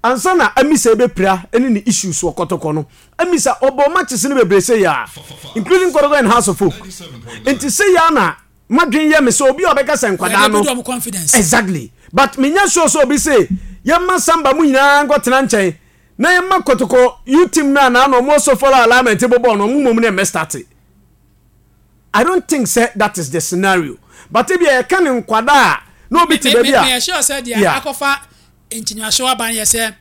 Ansa na Amisa rebɛpira ne ne issues wɔ Kɔtɔkɔ no, Amisa ɔbɔɔ matches no bebree sei ara, including Kɔtɔkɔ and House of Folk. Nti sei ara na madwen yɛ me sɛ obi a ɔbɛka sɛ nkwadaa Yɛde no. build wɔn confidence. Exactly. But menyɛ sure sɛ obi se yɛmma Samba mu nyinaa nkɔtena nkyɛn na yɛmma Kɔtɔkɔ youth team no a na ano wɔn so follow alignment bɔ bɔɔl no wɔn mmom ne mmɛ starte. I don't think sɛ that is the scenario. But ebia yɛka ne nkwadaa a na obi te Me, me, baabi a. meyɛ sure sɛ deɛ Yeah. akɔfa nkyinyaso aba no yɛ sɛ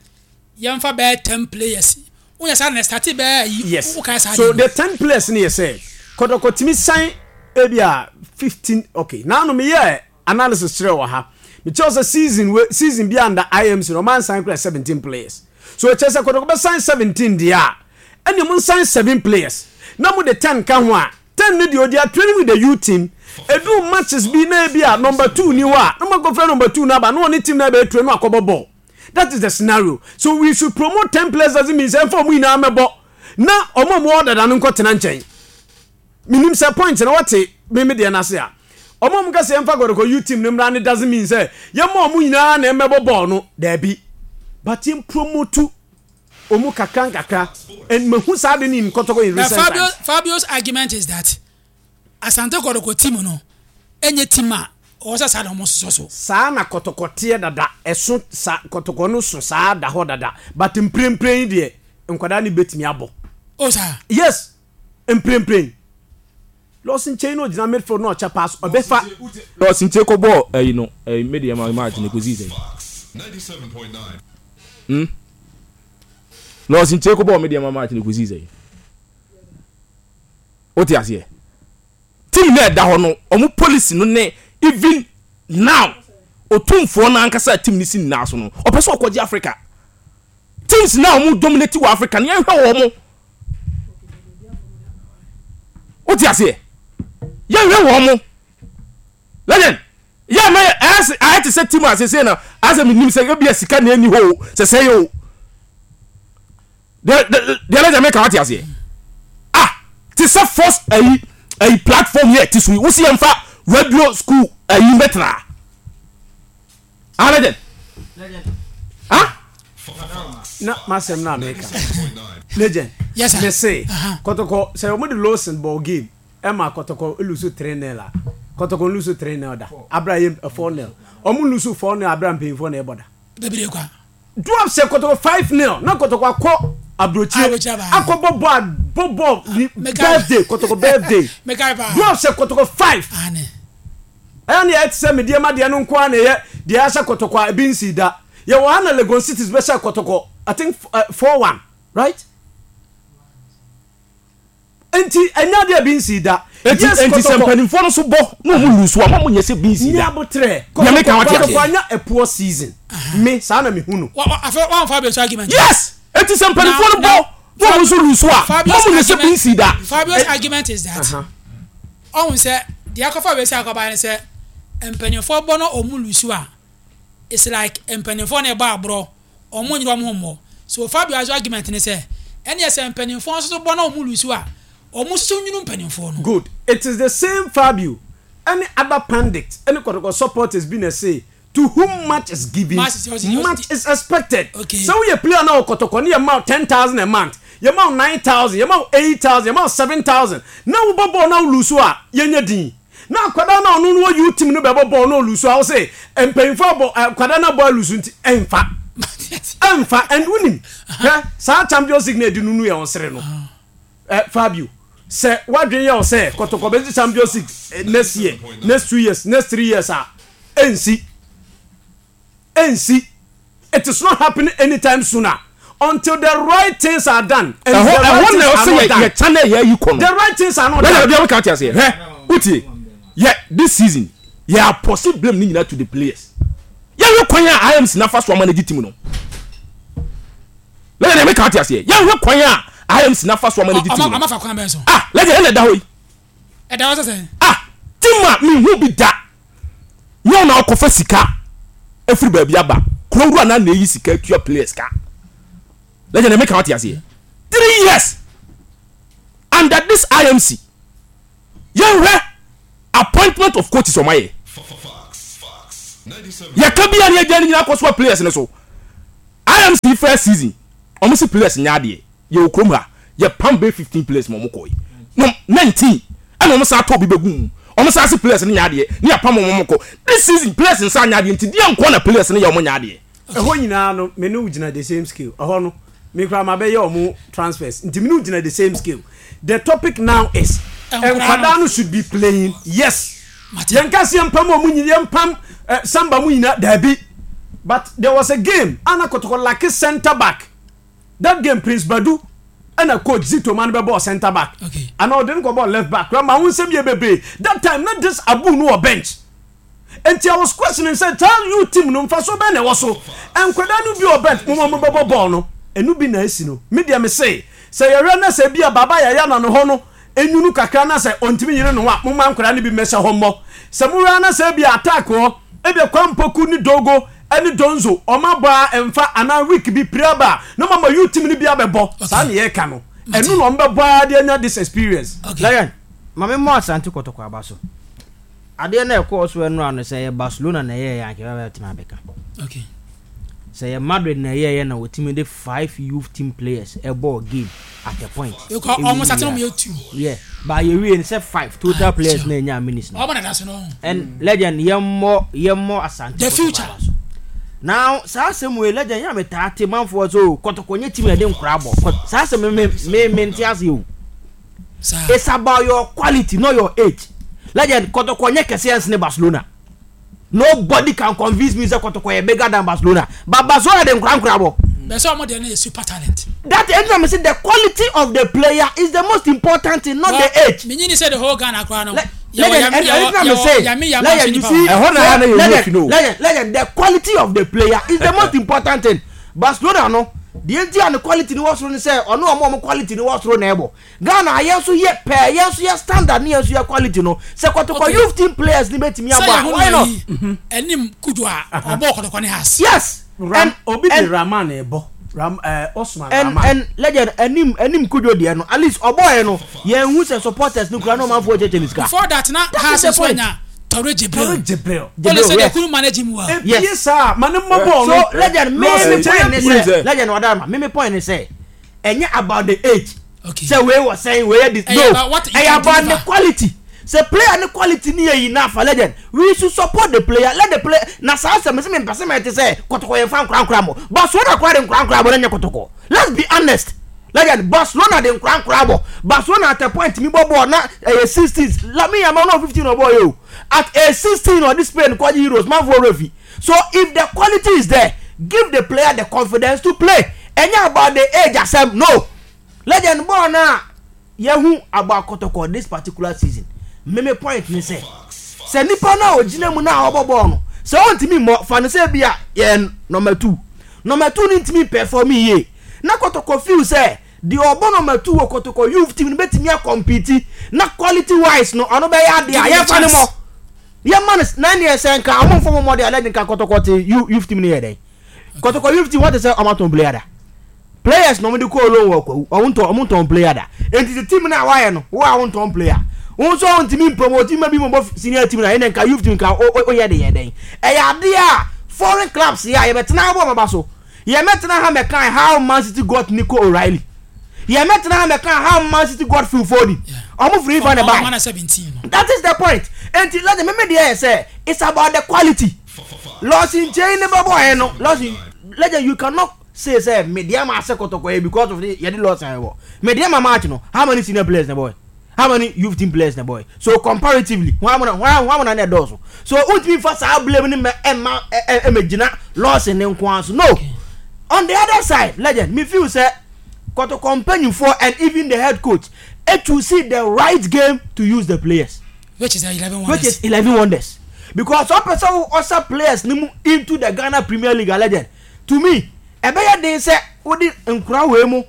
yɛmfa bɛyɛ 10 players. Woyɛ saa na ɛstate bɛyɛ ayi. Yes. Wokae saa So deɛ no. the 10 players no yɛ sɛ Kɔtɔkɔ tumi sign ebi a 15, okay. Now no meyɛ analysis kyerɛ wɔ ha. Mekyerɛ sɛ season we season bi under IMC no ɔman sign kura 17 players. So ɛkyerɛ sɛ Kɔtɔkɔ bɛ sign 17 deɛ a, ɛne mo sign 7 players. Na mo de 10 ka ho a, 10 no deɛ ɔdi a training with the youth team. Edu matches bi na ebi a number 2 ni hɔ a, na mo akɔfrɛ number 2 no aba na ɔne team na ɛbɛyɛ train no akɔbɔ ball. That is the scenario. So we should promote 10 players doesn't mean sɛ ɛmfa ɔmo nyinaa mɛbɔ na ɔmo a ɔmo wɔ dada no nkɔ tena nkyɛn. Menim sɛ point na wɔte me me deɛ n'ase a. Ɔmo a ɔmo ka sɛ yɛmfa Kɔtɔkɔ youth team no mmra no doesn't mean sɛ yɛmma ɔmo nyinaa na ɛmmɛbɔ ball no. Daabi. But yɛn promote ɔmo kakra nkakra and mahu saa de no in Kɔtɔkɔ in But recent Fabio, times. Fabio's argument is that Asante Kɔtɔkɔ team no ɛnyɛ team a ɔwɔ sɛ saa na wɔn sosɔ so. Saa na Kɔtɔkɔ teɛ dada, ɛso sa, Kɔtɔkɔ no so saa da hɔ dada, but mprempren yi deɛ nkwadaa no bɛtumi abɔ. Oh saa. Yes, mprempren. Lawson Kyei na ɔgyina midfield na ɔkyɛ pass, ɔbɛfa. Lawson Kyei kɔ bɔɔ ɛyi no ɛyi medeɛ ma match no kɔsii sɛn? Hmm? Lawson Kyei kɔ bɔɔ medeɛ ma match no kɔsii sɛn? Wote aseɛ? Team no a ɛda hɔ no, wɔn policy no ne even now otumfoɔ no ankasa a team no si ne nan so no, ɔpɛ sɛ ɔkɔgye Africa. Teams no a wɔn dominate wɔ Africa no, yɛnhwɛ wɔn. Wote aseɛ? Yɛnhwɛ wɔn. Legend, yɛ na ayɛ ayɛ te sɛ team a sese na asɛ menim sɛ ebia sika na ɛni hɔ o, sɛ sɛ yɛ o. Deɛ deɛ legend meka wate aseɛ. Ah, te sɛ first ayi ayi platform yɛ te so yi, wosi yɛmfa radio school ayi mbɛtena. Ah legend. Ah. Na masɛm na meka. Legend. Yes sir. Me se, Uh-huh. Kɔtɔkɔ sɛ wɔn de Lawson ball game. Ɛma Kɔtɔkɔ lusu 3-0 a, Kɔtɔkɔ nlusu 3-0 da. Abere a yɛ 4-0. Ɔmo nlusu 4-0 abere a mpanyinfoɔ na ɛbɔ da. Bebree kwa. Dwarfs hyɛ Kɔtɔkɔ 5-0 na Kɔtɔkɔ akɔ aburokyire Aburokyire aba. akɔbɔ bɔ a bɔ bɔ ni Mekae. birthday Kɔtɔkɔ birthday. Mekae paa. Dwarfs hyɛ Kɔtɔkɔ 5. Aane. Ɛyɛ ne yɛ te sɛ medeɛ ma deɛ no nko ara na ɛyɛ deɛ ahyɛ Kɔtɔkɔ a ebi nsii da. Yɛwɔ ha na Legon Cities bɛhyɛ Kɔtɔkɔ I think 4-1 right? Nti ɛnyɛ adeɛ a bi nsii da. Enti Yes enti sɛ kɔtɔkɔ. mpanimfoɔ no so bɔ na wɔn lusu a, mo nyɛ sɛ bi nsii Nya da. abotrɛ. Deɛ meka Kɔtɔkɔ wate kɔtɔkɔ aseɛ. anya a poor season. Me saa na me hu no. Wa wa afei wa nfa Fabio's argument. Yes! Enti sɛ mpanimfoɔ no Na bɔ na na wɔn nso lusu a, mo Fabio's nyɛ sɛ bi argument nsii da. Fabio's argument is that ɔhun sɛ deɛ akɔfa wei sɛ akɔba ne sɛ mpanimfoɔ bɔ na wɔn lusu a it's like mpanimfoɔ na ɛbɔ aborɔ. Wɔn nyere wɔn ho mmɔ. So Fabio nso argument ne sɛ, ɛneɛ sɛ mpaninfoɔ nso so bɔ na wɔn lusu a, wɔn nso so nwunu mpaninfoɔ no. Good. It is the same Fabio ɛne other pandits ɛne kɔtɔkɔ supporters bi na ɛse to whom much is given, Much is much is expected. Okay. Sɛ woyɛ player na wɔ kɔtɔkɔ ne yɛma wo 10,000 a month, yɛma wo 9,000, yɛma wo 8,000, yɛma wo 7,000 na wobɔ bɔɔl na wo lusu a, yɛnyɛ din. Na akwadaa no a ɔno no wɔ youth team no bɛbɔ bɔɔl na ɔlusu a wose mpanyinfoɔ abɔ akwadaa no abɔ alusu nti ɛnfa ɛnfa and wonim hwɛ saa Champions League na ɛdi nunu yɛ ɔsere no ɛ Fabio sɛ wadwen yɛ ɔsɛ kɔtɔkɔ bɛgye Champions League next year, next 2 years, next 3 years a ɛnsi. Ɛnsi. It is not happening anytime sooner until the right things are done. And Ɛhɔ the right ɛhɔ things na are ɔsɛ not yɛ done. yɛ channel yɛ ayi kɔ no. The right things are not Lẹ́yìn done. ọdún yẹn ti aseɛ hwɛ wotie yɛ this season yɛ apɔsi blame ne nyinaa to the players yɛhwɛ kwan a IMC nafa so ama no gye team no lẹ́yìn ɛmɛ kan ti aseɛ yɛhwɛ kwan a IMC nafa so ama no gye team no Ɔma fa kwan bɛn so? Ah, lẹ́yìn ɛna ɛda hɔ yi. Ɛda hɔ sɛ sɛn? Ah, team a mehu bi da. Nyɛ wo na wokɔfa sika afiri baabi aba. Kuro wura na na eyi sika atua players ka. Legend ɛmɛ ka wate aseɛ. 3 years under this IMC yɛnhwɛ appointment of coaches ɔmo ayɛ. Yɛka bi a ne yɛgya ne nyinaa kɔ so a players ne so. IMC first season ɔmo se players nyɛ adeɛ yɛwɔ kurom ha yɛ pam bɛyɛ 15 players ma ɔmo kɔɛ no 19 ɛna ɔmo san atɔ obi bɛgu mu ɔmo san se players no nyɛ adeɛ ne yɛ pam ɔmo ɔmo kɔ. This season players nsa nyɛ adeɛ nti deɛ nkoa na players no yɛ ɔmo nyɛ adeɛ. Ɛhɔ nyinaa no me ne wo gyina the same scale ɛhɔ no me koraa mabɛyɛ ɔmo transfers nti me ne wo gyina the same scale the topic now is nkwadaa no should be playing yes yɛn ka se yɛn pam ɔmo nyina yɛn pam eh, samba mu nyina daabi but there was a game ana kɔtɔkɔ lake center back that game Prince Badu ɛna coach Zito ma no bɛbɔɔ center back ana ɔde no kɔbɔɔ left back koraa ma ho nsɛm yɛ bebree that time na this Abu no wɔ bench. Enti I was questioning sɛ saa youth team no mfasoɔ bɛn na ɛwɔ so? Nkwadaa no bi wɔ bench moma ɔmo bɛbɔ bɔɔl no. Ɛno bi na asi no. Me deɛ me se sɛ yɛhwɛ na sɛ ebia Baba Yaya na ne hɔ no nwunu kakra na sɛ ɔntumi nyere ne ho a momma nkwadaa no bi mmɛhyɛ hɔ mmɔ. Sɛ mohwɛ ara na sɛ ebia attack hɔ ebia Kwame Poku ne Dogo ne Donzo ɔmo abɔ ara ɛmfa anaa week bi pira ba a na moama youth team no bi abɛbɔ. Saa na yɛreka no. Ɛno na ɔmo bɛbɔ ara de anya this experience. Lion, ma me mmɔ Asante Kɔtɔkɔ aba so. Adeɛ no a ɛkɔɔ so ɛnora no sɛ ɛyɛ Barcelona na ɛyɛɛyɛ anka yɛbɛtumi abɛka. Okay. Sɛ ɛyɛ Madrid na ɛyɛɛyɛ na wɔtumi de five youth team players ɛbɔɔ game at a point. Because ɔmo sate no yɛ two. Yeah, but yɛwie no sɛ five total ah, players na ɛnya minutes no. Ɔmo na da so no. And legend yɛmmɔ yɛmmɔ Asante The future. So. Now saa asɛm wei legend yɛ a metaa te manfoɔ so kɔtɔkɔ nyɛ team na ɛde nkora bɔ. Saa asɛm me me me nte ase o. It's about your quality not your age. Legend Kotoko nyɛ kɛseɛ nsene Barcelona. Nobody can convince me sɛ Kotoko yɛ bigger than Barcelona. But Barcelona de nkora nkora bɔ. Bɛsɛ ɔmo deɛ no yɛ super talent. That ɛnna mi sɛ the quality of the player is the most important thing not the age. Mi nyi ni sɛ the whole Ghana koraa no. Legend ɛnna mi sɛ legend you see ɛhɔ na yɛ na yɛ wura fi no. Legend legend the quality of the player is the most important thing. Barcelona no deɛ nti a ne quality no wɔ soro ne sɛ ɔne ɔmo ɔmo quality no wɔ soro na ɛbɔ. Ghana yɛn nso yɛ pɛɛ yɛn nso yɛ standard ne yɛn nso yɛ quality no sɛ kɔtɔkɔ okay. youth team players ni bɛtumi abɔ a why not. Ɛnim kudu a ɔbɔ kɔtɔkɔ ne has. Yes. Ram, and, obi de Rahman ɛbɔ Ram ɛɛ eh, Osman and, Rahman. And legend ɛnim ɛnim kudu deɛ no at least ɔbɔ yɛ no yɛn hu sɛ supporters no kura na ɔmanfoɔ kyɛkyɛ ne sika. Before that na has nso anya. Tore Jibril. Tore Jibril. Jibril, yes. They couldn't manage him well. Yes. Ebie saa, ma ne mmɔ bɔɔl no. So legend, me me point ne sɛ, legend ɔda ma, me me point ne sɛ, ɛnyɛ about the age. Okay. Sɛ wei wɔ sɛn, wei yɛ this. No, ɛyɛ about the quality. Sɛ player ne quality ni yɛ enough, legend, we should support the player. Let the player. Na saa sɛ me sɛ me mpɛ sɛ mɛ te sɛ kɔtɔkɔ yɛn fa nkora nkora mo. Barcelona kora de nkora nkora mo na nyɛ kɔtɔkɔ. Let's be honest. Legend, Barcelona de nkora nkora bɔ. Barcelona at a point mi bɔ bɔɔl na ɛyɛ 16, Lamine Yamal na 15 ɔbɔ yɛ o. At age 16 ɔde Spain kɔgye Euros manfoɔ werɛ fi. So if the quality is there, give the player the confidence to play. Ɛnyɛ about the age asɛm, no. Legend bɔɔl no a yɛhu about Kɔtɔkɔ this particular season, me me point ne sɛ, sɛ nipa no a ɔgyina mu no a ɔbɔ bɔɔl no, sɛ ɔntumi mmɔ, fa no sɛ bi a yɛn number two, number two no ntumi perform yie, na Kɔtɔkɔ feel sɛ deɛ ɔbɔ number two wɔ Kɔtɔkɔ youth team no bɛtumi akɔmpiti na quality wise no ɔno bɛyɛ adeɛ a yɛmfa no mmɔ. Yɛma no na neɛ sɛ nka ɔmo mfa ɔmo mmɔ deɛ alɛ nka Kɔtɔkɔ te youth team no yɛ dɛn? Kɔtɔkɔ youth team wɔte sɛ ɔmo atɔn player da. Players na ɔmo de kɔɔ loan wɔ Kwawu ɔmo ntɔn ɔmo ntɔn player da. Enti sɛ team no a wayɛ no wo a wontɔn player wo nso ɔntumi mpromote ma bi mɔbɔ senior team na ɛnɛ nka youth team nka woyɛ de yɛ dɛn? Ɛyɛ adeɛ a foreign clubs yɛ a yɛbɛtena abɔ ɔmo aba so. Yɛmɛtena ha mɛkan how Man City got Nico O'Reilly. Yɛmɛtena ha mɛkan how Man City got Phil Foden. Ɔmo firi ifa na ɛbae. That is the point. Enti listen me me deɛ yɛ sɛ it's about the quality. Lawson Kyei ne bɛbɔ ɛ no Lawson legend you cannot say sɛ Medeama ase kɔtɔkɔ yɛ because of yɛde Lawson ɛwɔ Medeama match no how many senior players na ɛbɔ ɛ? How many youth team players na ɛbɔ ɛ? So comparatively hwan mo na hwan hwan mo na na ɛdɔɔso? So wontumi nfa saa blame no mɛ ɛma ɛmɛ gyina Lawson ne nko ara so no. On the other side legend me feel sɛ kɔtɔkɔ mpanyinfoɔ and even the head coach to see the right game to use the players. Which is 11 wonders. Which is 11 wonders. Because ɔpɛ sɛ wo ɔsa players no mu into the Ghana Premier League a legend to me ɛbɛyɛ den sɛ wode nkora wei mu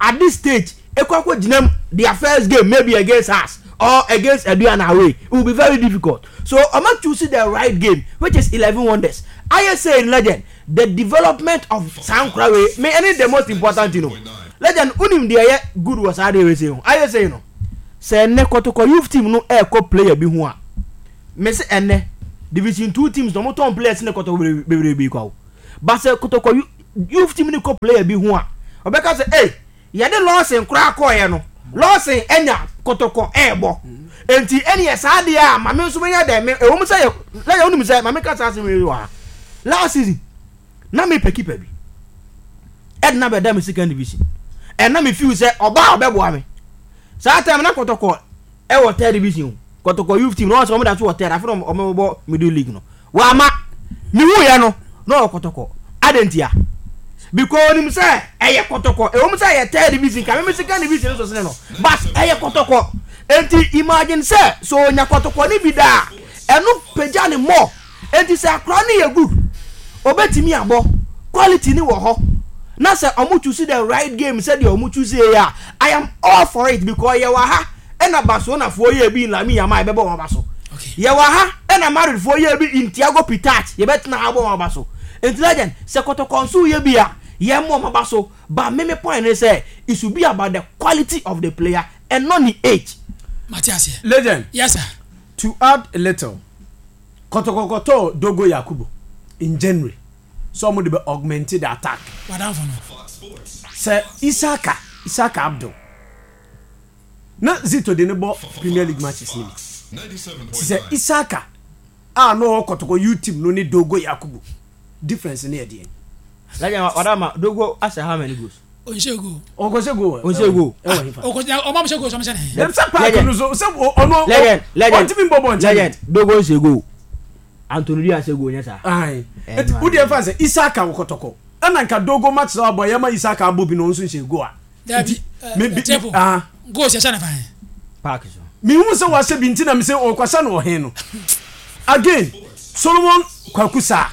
at this stage ekɔ akɔ gyina mu their first game maybe against us or against Aduana away it will be very difficult so ɔma choose the right game which is 11 wonders ayɛ sɛ legend the development of saa nkora wei me ɛne the most important thing o legend wonim deɛ ɛyɛ good wɔ saa deɛ wei sei ho ayɛ sɛ no sɛ ɛnɛ kɔtɔkɔ youth team no ɛɛkɔ player bi ho a mese ɛnɛ division two teams na ɔmo tɔn players ne kɔtɔkɔ bebree bi kwa o but sɛ kɔtɔkɔ. youth team no kɔ player bi ho a, ɔbɛka sɛ ei yɛde Lawson koraa kɔɔeɛ no, Lawson anya kɔtɔkɔ ɛɛbɔ. Enti ɛneɛ saa deɛ a ma me nso menya dɛn, me ɛwɔ mu sɛ yɛ lɛyɛ wonim sɛ ma meka saa asɛm yi wɔ ha. Last season na mepɛ keeper bi ɛde na bɛda me second division ɛna me feel sɛ ɔbaa ɔbɛboa me. Saa time na kɔtɔkɔ ɛwɔ third division o. Kɔtɔkɔ youth team na wɔn sɛ wɔn da so wɔ third afei na wɔn bɔ middle league no. Wama mehu yɛ no na ɔwɔ kɔtɔkɔ. Adɛn ntia? Because onim sɛ ɛyɛ kɔtɔkɔ. Ɛwɔ mu sɛ ɛyɛ third division ka meme second division nso sene no but ɛyɛ kɔtɔkɔ. Enti imagine sɛ sɛ onya kɔtɔkɔ ne bi da a ɛno pagya ne more. Enti sɛ akora no yɛ good obetumi abɔ, quality no wɔ hɔ na sɛ ɔmo choose the right game sɛdeɛ ɔmo choose yɛ a I am all for it because yɛwɔ ha ɛna Barcelona foɔ yɛɛ bi in Lamine Yamal yɛbɛbɔ wɔn aba so. Yɛwɔ ha ɛna Madrid foɔ yɛɛ bi in Thiago Pitarch yɛbɛtena ha abɔ wɔn aba so. Enti legend sɛ kɔtɔkɔ nso yɛ bi a yɛmmɔ wɔn aba so but me me point ne sɛ it should be about the quality of the player and not ne age. Mate aseɛ. Legend. Yes sir. To add a little, Kɔtɔkɔ kɔtɔɔ Dogo Yakubu in January sɛ ɔmo de bɛ augment the attack. W'adamfo no. Sɛ Isaka, Isaka Abdul. Na Zito de no bɔ Premier League matches no bi. Nti sɛ Isaka a na ɔwɔ Kɔtɔkɔ youth team no ne Dogo Yakubu difference no yɛ deɛn? Legend wadama Dogo ahyɛ how many goals? Ɔnhyɛ goal. Ɔkɔhyɛ goal. Ɔnhyɛ goal. Ɛwɔ hefa? Ɔkɔ ɔmo ahyɛ goal sɔm hyɛ ne he. Dɛm sɛ park no so sɛ ɔno Legend legend ɔntumi mbɔ bɔɔl nkyɛn. Legend Dogo nhyɛ goal. Anthony Dua nhyɛ goal nyɛ saa. Ayi. Eti wo deɛ fa sɛ Isaka wɔ Kɔtɔkɔ ɛna nka Dogo match sɛ ɔbɔ yɛ ma Isaka abɔ bi na ɔno nso nhyɛ goal a. Dabi ɛɛ ah. Goal hyɛ ne fan. Park so. Mihu sɛ wahyɛ bi nti na mi sɛ ɔkɔhyɛ no ɔhen no. Again Solomon Kwaku Saa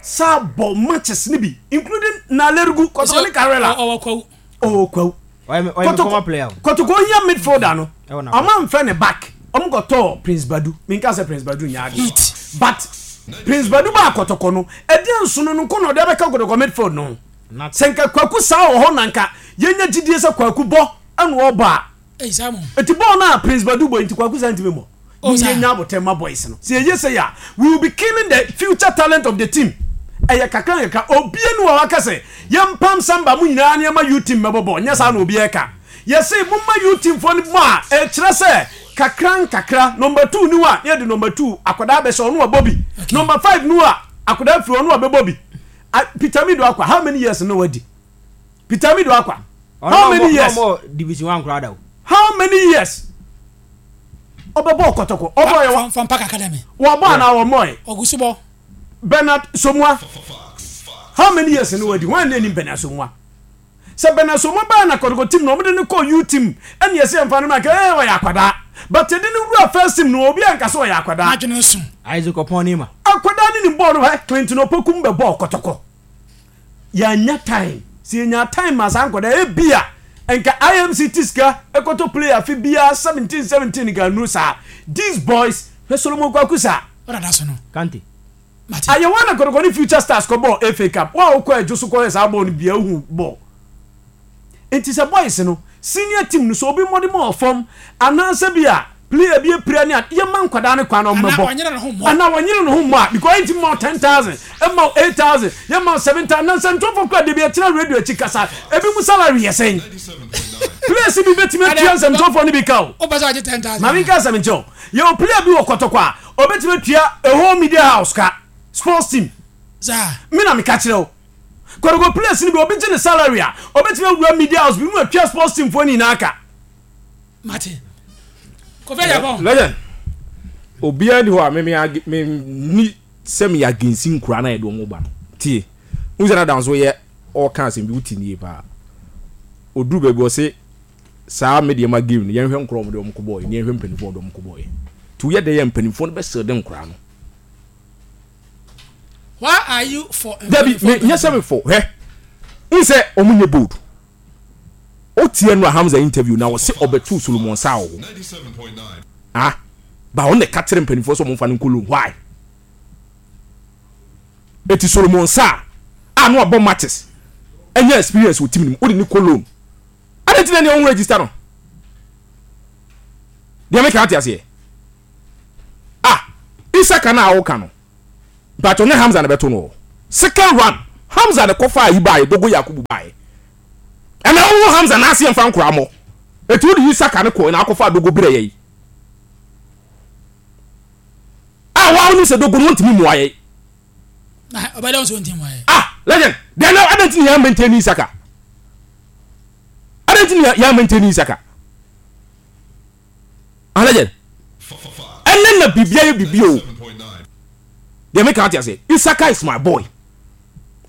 saa bɔ matches ni bi including Nalergu Kɔtɔkɔ ne Karela. Ɔwɔ Kwawu. Ɔwɔ Kwawu. Kɔtɔkɔ Kɔtɔkɔ ohia midfielder no. Ɔmo anfɛ ne back. Ɔmo kɔtɔɔ Prince Badu. Minka sɛ Prince Badu nyɛ adeɛ. But Prince Badu baa Kɔtɔkɔ no ɛdeɛ nsono no nko na ɔde abɛka Kɔtɔkɔ midfield no ho. Sɛ nka Kwaku saa wɔ hɔ na nka yɛnya gyidie sɛ Kwaku bɔ ɛna ɔbɔ a. Nti bɔɔl no a Prince Badu bɔ yi nti Kwaku saa ntumi mmɔ. Oh, Mom yɛnya abotɛ ma boys no. Sɛ yɛyɛ sei a, we will be killing the future talent of the team. Ɛyɛ kakra nkakra. Obia ni wɔ hɔ aka sɛ yɛmpam Samba mo nyinaa na yɛma youth team mmɛbɔ bɔɔl. Nyɛ saa na obiara ɛka. Yɛse momma youth team foɔ no bɔ a, ɛkyerɛ sɛ kakra nkakra number two ni hɔ a, na yɛde number two akwadaa bɛhyɛ ɔno wabɔ bi. Number five ni hɔ a, akwadaa firi hɔ ɔno wabɛbɔ bi. Peter Mido Akwa, how many years na wadi? Peter Mido Akwa, how many years? Division one koraa da o. How many years? Ɔbɛbɔ kɔtɔkɔ. Ɔbɔ yɛ wa. From Park Academy. Wɔbɔ anaa wɔmmɔ yɛ. Ɔgu so bɔ. Bernard Somua, how many years na wadi? Wɔn na anim Bernard Somua. Sɛ Bernard Somua baa na kɔtɔkɔ team na wɔde no kɔɔ U team ɛna yɛsɛ yɛmfa no ma nka ɛɛ ɔyɛ akwadaa. But yɛde no wura first team no obi anka sɛ ɔyɛ akwadaa. N'adwene no so. Isaac Opon Nima. Akwadaa ne nim bɔɔl no hɛ Clinton Opokum bɛbɔɔ kɔtɔkɔ. Yɛannya time. Sɛ yɛnyaa time maa saa nkwadaa ebia nka IMC te sika ɛkɔtɔ player afe biara 17 17 nka anuru saa. These boys hwɛ Solomon Kwaku saa. Ɔdada so no. Kante. Mate. Ayɛ wɔn na kɔtɔkɔ ne Future Stars kɔbɔɔ FA Cup. Wo a wokɔ Adwo so kɔhwɛ saa bɔɔl no bia wohu bɔɔl. Nti sɛ boys no, senior team no, sɛ obi mmɔden ma wɔ fam anaasɛ bi a player bi apira ne ade, yɛmma nkwadaa no kwan na Anaa wɔmmɛbɔ. ɔnyere ne ho mmɔ. Anaa wɔnyere ne ho mmɔ a, because yɛntumi mma wo 10,000, mma wo 8,000, yɛmma wo 7,000. Na nsɛntwerɛfoɔ koraa da bi yɛtena radio akyi kasa, ebinom salary yɛ sɛn? Players bi bɛtumi atua nsɛntwerɛfoɔ no bi ka o. Wopɛ sɛ ɔgye 10,000 Ma menka asɛm nkyerɛ wo. Yɛwɔ player bi wɔ Kɔtɔkɔ a, ɔbɛtumi atua a whole media house ka, sports team. Saa. Me na meka kyerɛ wo. Kɔtɔkɔ players no bi obi gye ne salary a obetumi awura media house bi mu atua sports team foɔ no nyinaa ka. Mate. Kofi Agyapong. Legend. Obiara ni hɔ a me me me ni sɛ me against nkura na yɛde wɔn ba no. Tie. N sɛ na danso yɛ ɔka asɛm bi wote nie paa. Oduru baabi ɔse saa medeɛ ma game no yɛnhwɛ nkora wɔn de wɔn kɔ bɔɔl ne yɛnhwɛ mpanimfoɔ de wɔn kɔ bɔɔl. Nti woyɛ dɛ yɛ mpanimfoɔ no bɛsɛ de nkora no. Why are you for Dabi, me nyɛ sɛ me for hwɛ. N sɛ ɔmo nyɛ bold. O tie no a Hamza interview na ɔse ɔbɛtoo Solomon saa wɔ hɔ. Ah, ba ɔno na ɛka kyerɛ mpanimfoɔ sɛ ɔmo nfa no nkɔ loan. Why? Eti Solomon saa a na wabɔ matches, anya experience wɔ team no mu, wode no kɔ loan. Adɛn nti na ɛnneɛ ɔnho register no? Deɛ meka ate aseɛ. Ah, Isaka no a woka no, mpakyɛw nyɛ Hamza na ɛbɛto no o. Second run. Hamza ne kɔfa ayi baayɛ Dogo Yakubu baayɛ. Ɛna wo Hamza n'ase yɛn fa nkora mɔ. Eti wo de Isaka ne kɔ na akɔfa Dogo brɛ yɛ yi. A wa wo nim sɛ Dogo no ntumi mmoa yɛ. Na ɔbɛdɛ nso ntumi mmoa yɛ. Ah legend deɛ na adan ti na yɛn maintain Isaka. Adan ti na yɛn maintain Isaka. Ah legend ɛnɛ na biribi ayɛ biribi o. Deɛ meka ate aseɛ Isaka is my boy.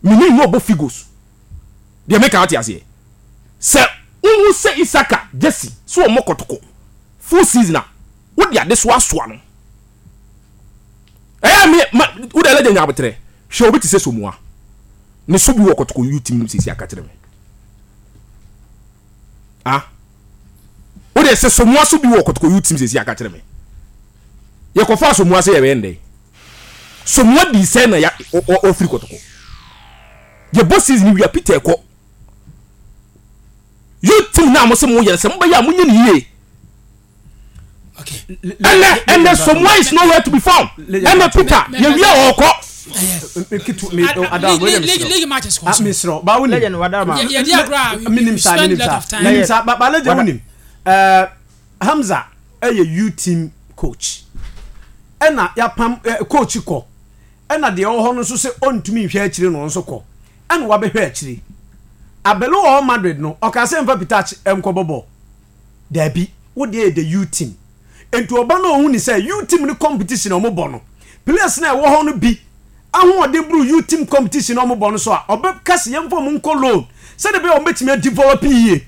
Mene no ɔbɔ figures. Deɛ meka ate aseɛ sɛ wohu sɛ Isaka Jesse so ɔmmɔ kɔtɔkɔ full season a wode adesoa asoa no. Ɛyɛ me ma wode legend nya abotrɛ hwɛ obi te sɛ Somoa ne so bi wɔ kɔtɔkɔ youth team no sisi aka kyerɛ me. Ah wode sɛ Somoa so bi wɔ kɔtɔkɔ youth team sisi aka kyerɛ me. Yɛkɔfa Somoa sɛ yɛbɛyɛ ndɛn. Somoa di sɛ na ya ɔfiri kɔtɔkɔ. Yɛbɔ season wia Peter kɔ. Youth team na mo sɛ mo yɛ sɛ mo bɛyɛ a mo nyɛ ne yie. Ɛnɛ ɛnɛ Somoa is nowhere to be found. Ɛnɛ Peter yɛ wia ɔkɔ. Mesrɛ ba wonim menim saa menim saa menim saa ba ba legend wonim ɛɛ Hamza ɛyɛ youth team coach ɛna yapam ɛ coach kɔ ɛna deɛ ɔwɔ hɔ no nso sɛ ɔntumi nhwɛ akyire no nso kɔ ɛna wabɛhwɛ akyire Abelo wɔ Madrid no ɔka sɛ nfa Peter nkɔbɔ bɔɔl. Daabi, wo deɛ yɛ the youth team. Nti ɔba no ɔhu ne sɛ youth team no competition a wɔbɔ no, players no a ɛwɔ hɔ no bi ahoɔden boro youth team competition a wɔbɔ no so a, ɔbɛka sɛ yɛmfa wɔn nkɔ loan sɛdeɛ ɛbɛyɛ a wɔbɛtumi adevelop yie.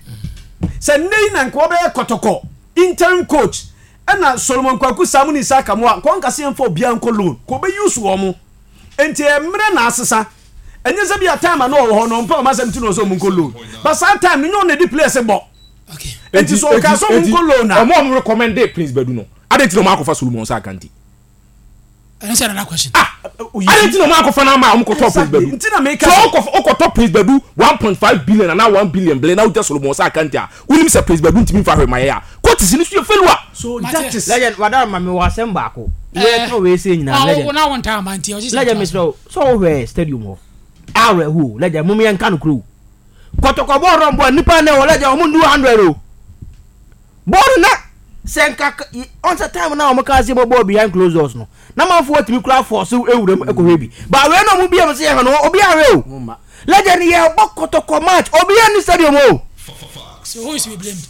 Sɛ nnɛ yi na nka wɔbɛyɛ kɔtɔkɔ interim coach ɛna Solomon Kwaku Samu ne Isaac Amoah, nka ɔnka sɛ yɛmfa obiara nkɔ loan, nka ɔbɛ use wɔn. Nti ɛyɛ mmerɛ na asesa. Ɛnyɛ sɛ bi a time a na ɔwɔ hɔ no ɔmpɛ wɔn asɛm nti na ɔsɛ wɔn nkɔ loan. But saa time no nyɛ ɔno na ɛde players bɔ. Enti so ɔka sɛ ɔmo nkɔ loan a. Ɔmo a ɔmo recommend Prince Badu no, adɛn nti na ɔmo akɔfa Solomon Sark nti? Ɛno sɛ another question. Ah! Adɛn nti na ɔmo akɔfa no ama a ɔmo kɔtɔɔ Prince Badu? Nti na meka sɛ. So wokɔtɔ Prince Badu 1.5 billion anaa 1 billion bele na wogya Solomon Sark nti a, wonim sɛ Prince Badu ntumi mfa hwee ma yɛn a, coaches no so yɛ failure. So that is. Legend, wadara ma me wɔ asɛm baako. Yɛka wei sei nyinaa, legend. Wo na wo ntaa ma nti ɔgye sɛ. Legend mesrɛ wo, sɛ wohwɛ stadium hɔ, awerɛho o, legend, mom yɛnka nokorɛ o. Kɔtɔkɔ bɔɔl no bɔ nipa na ɛwɔ lɛgya wɔn ndu hundred o bɔɔl na sɛ nka ɔn sɛ time na wɔn kaa sɛ bɔ bɔɔl behind closed doors no na manfoɔ atumi kura fɔɔso ewura mu ɛkɔhwɛ bi ba wei na wɔn bia mu sɛ yɛhwɛ no obi ahwɛ o lɛgya no yɛ bɔ kɔtɔkɔ match obi yɛ ni stadium o. So who is to be blamed?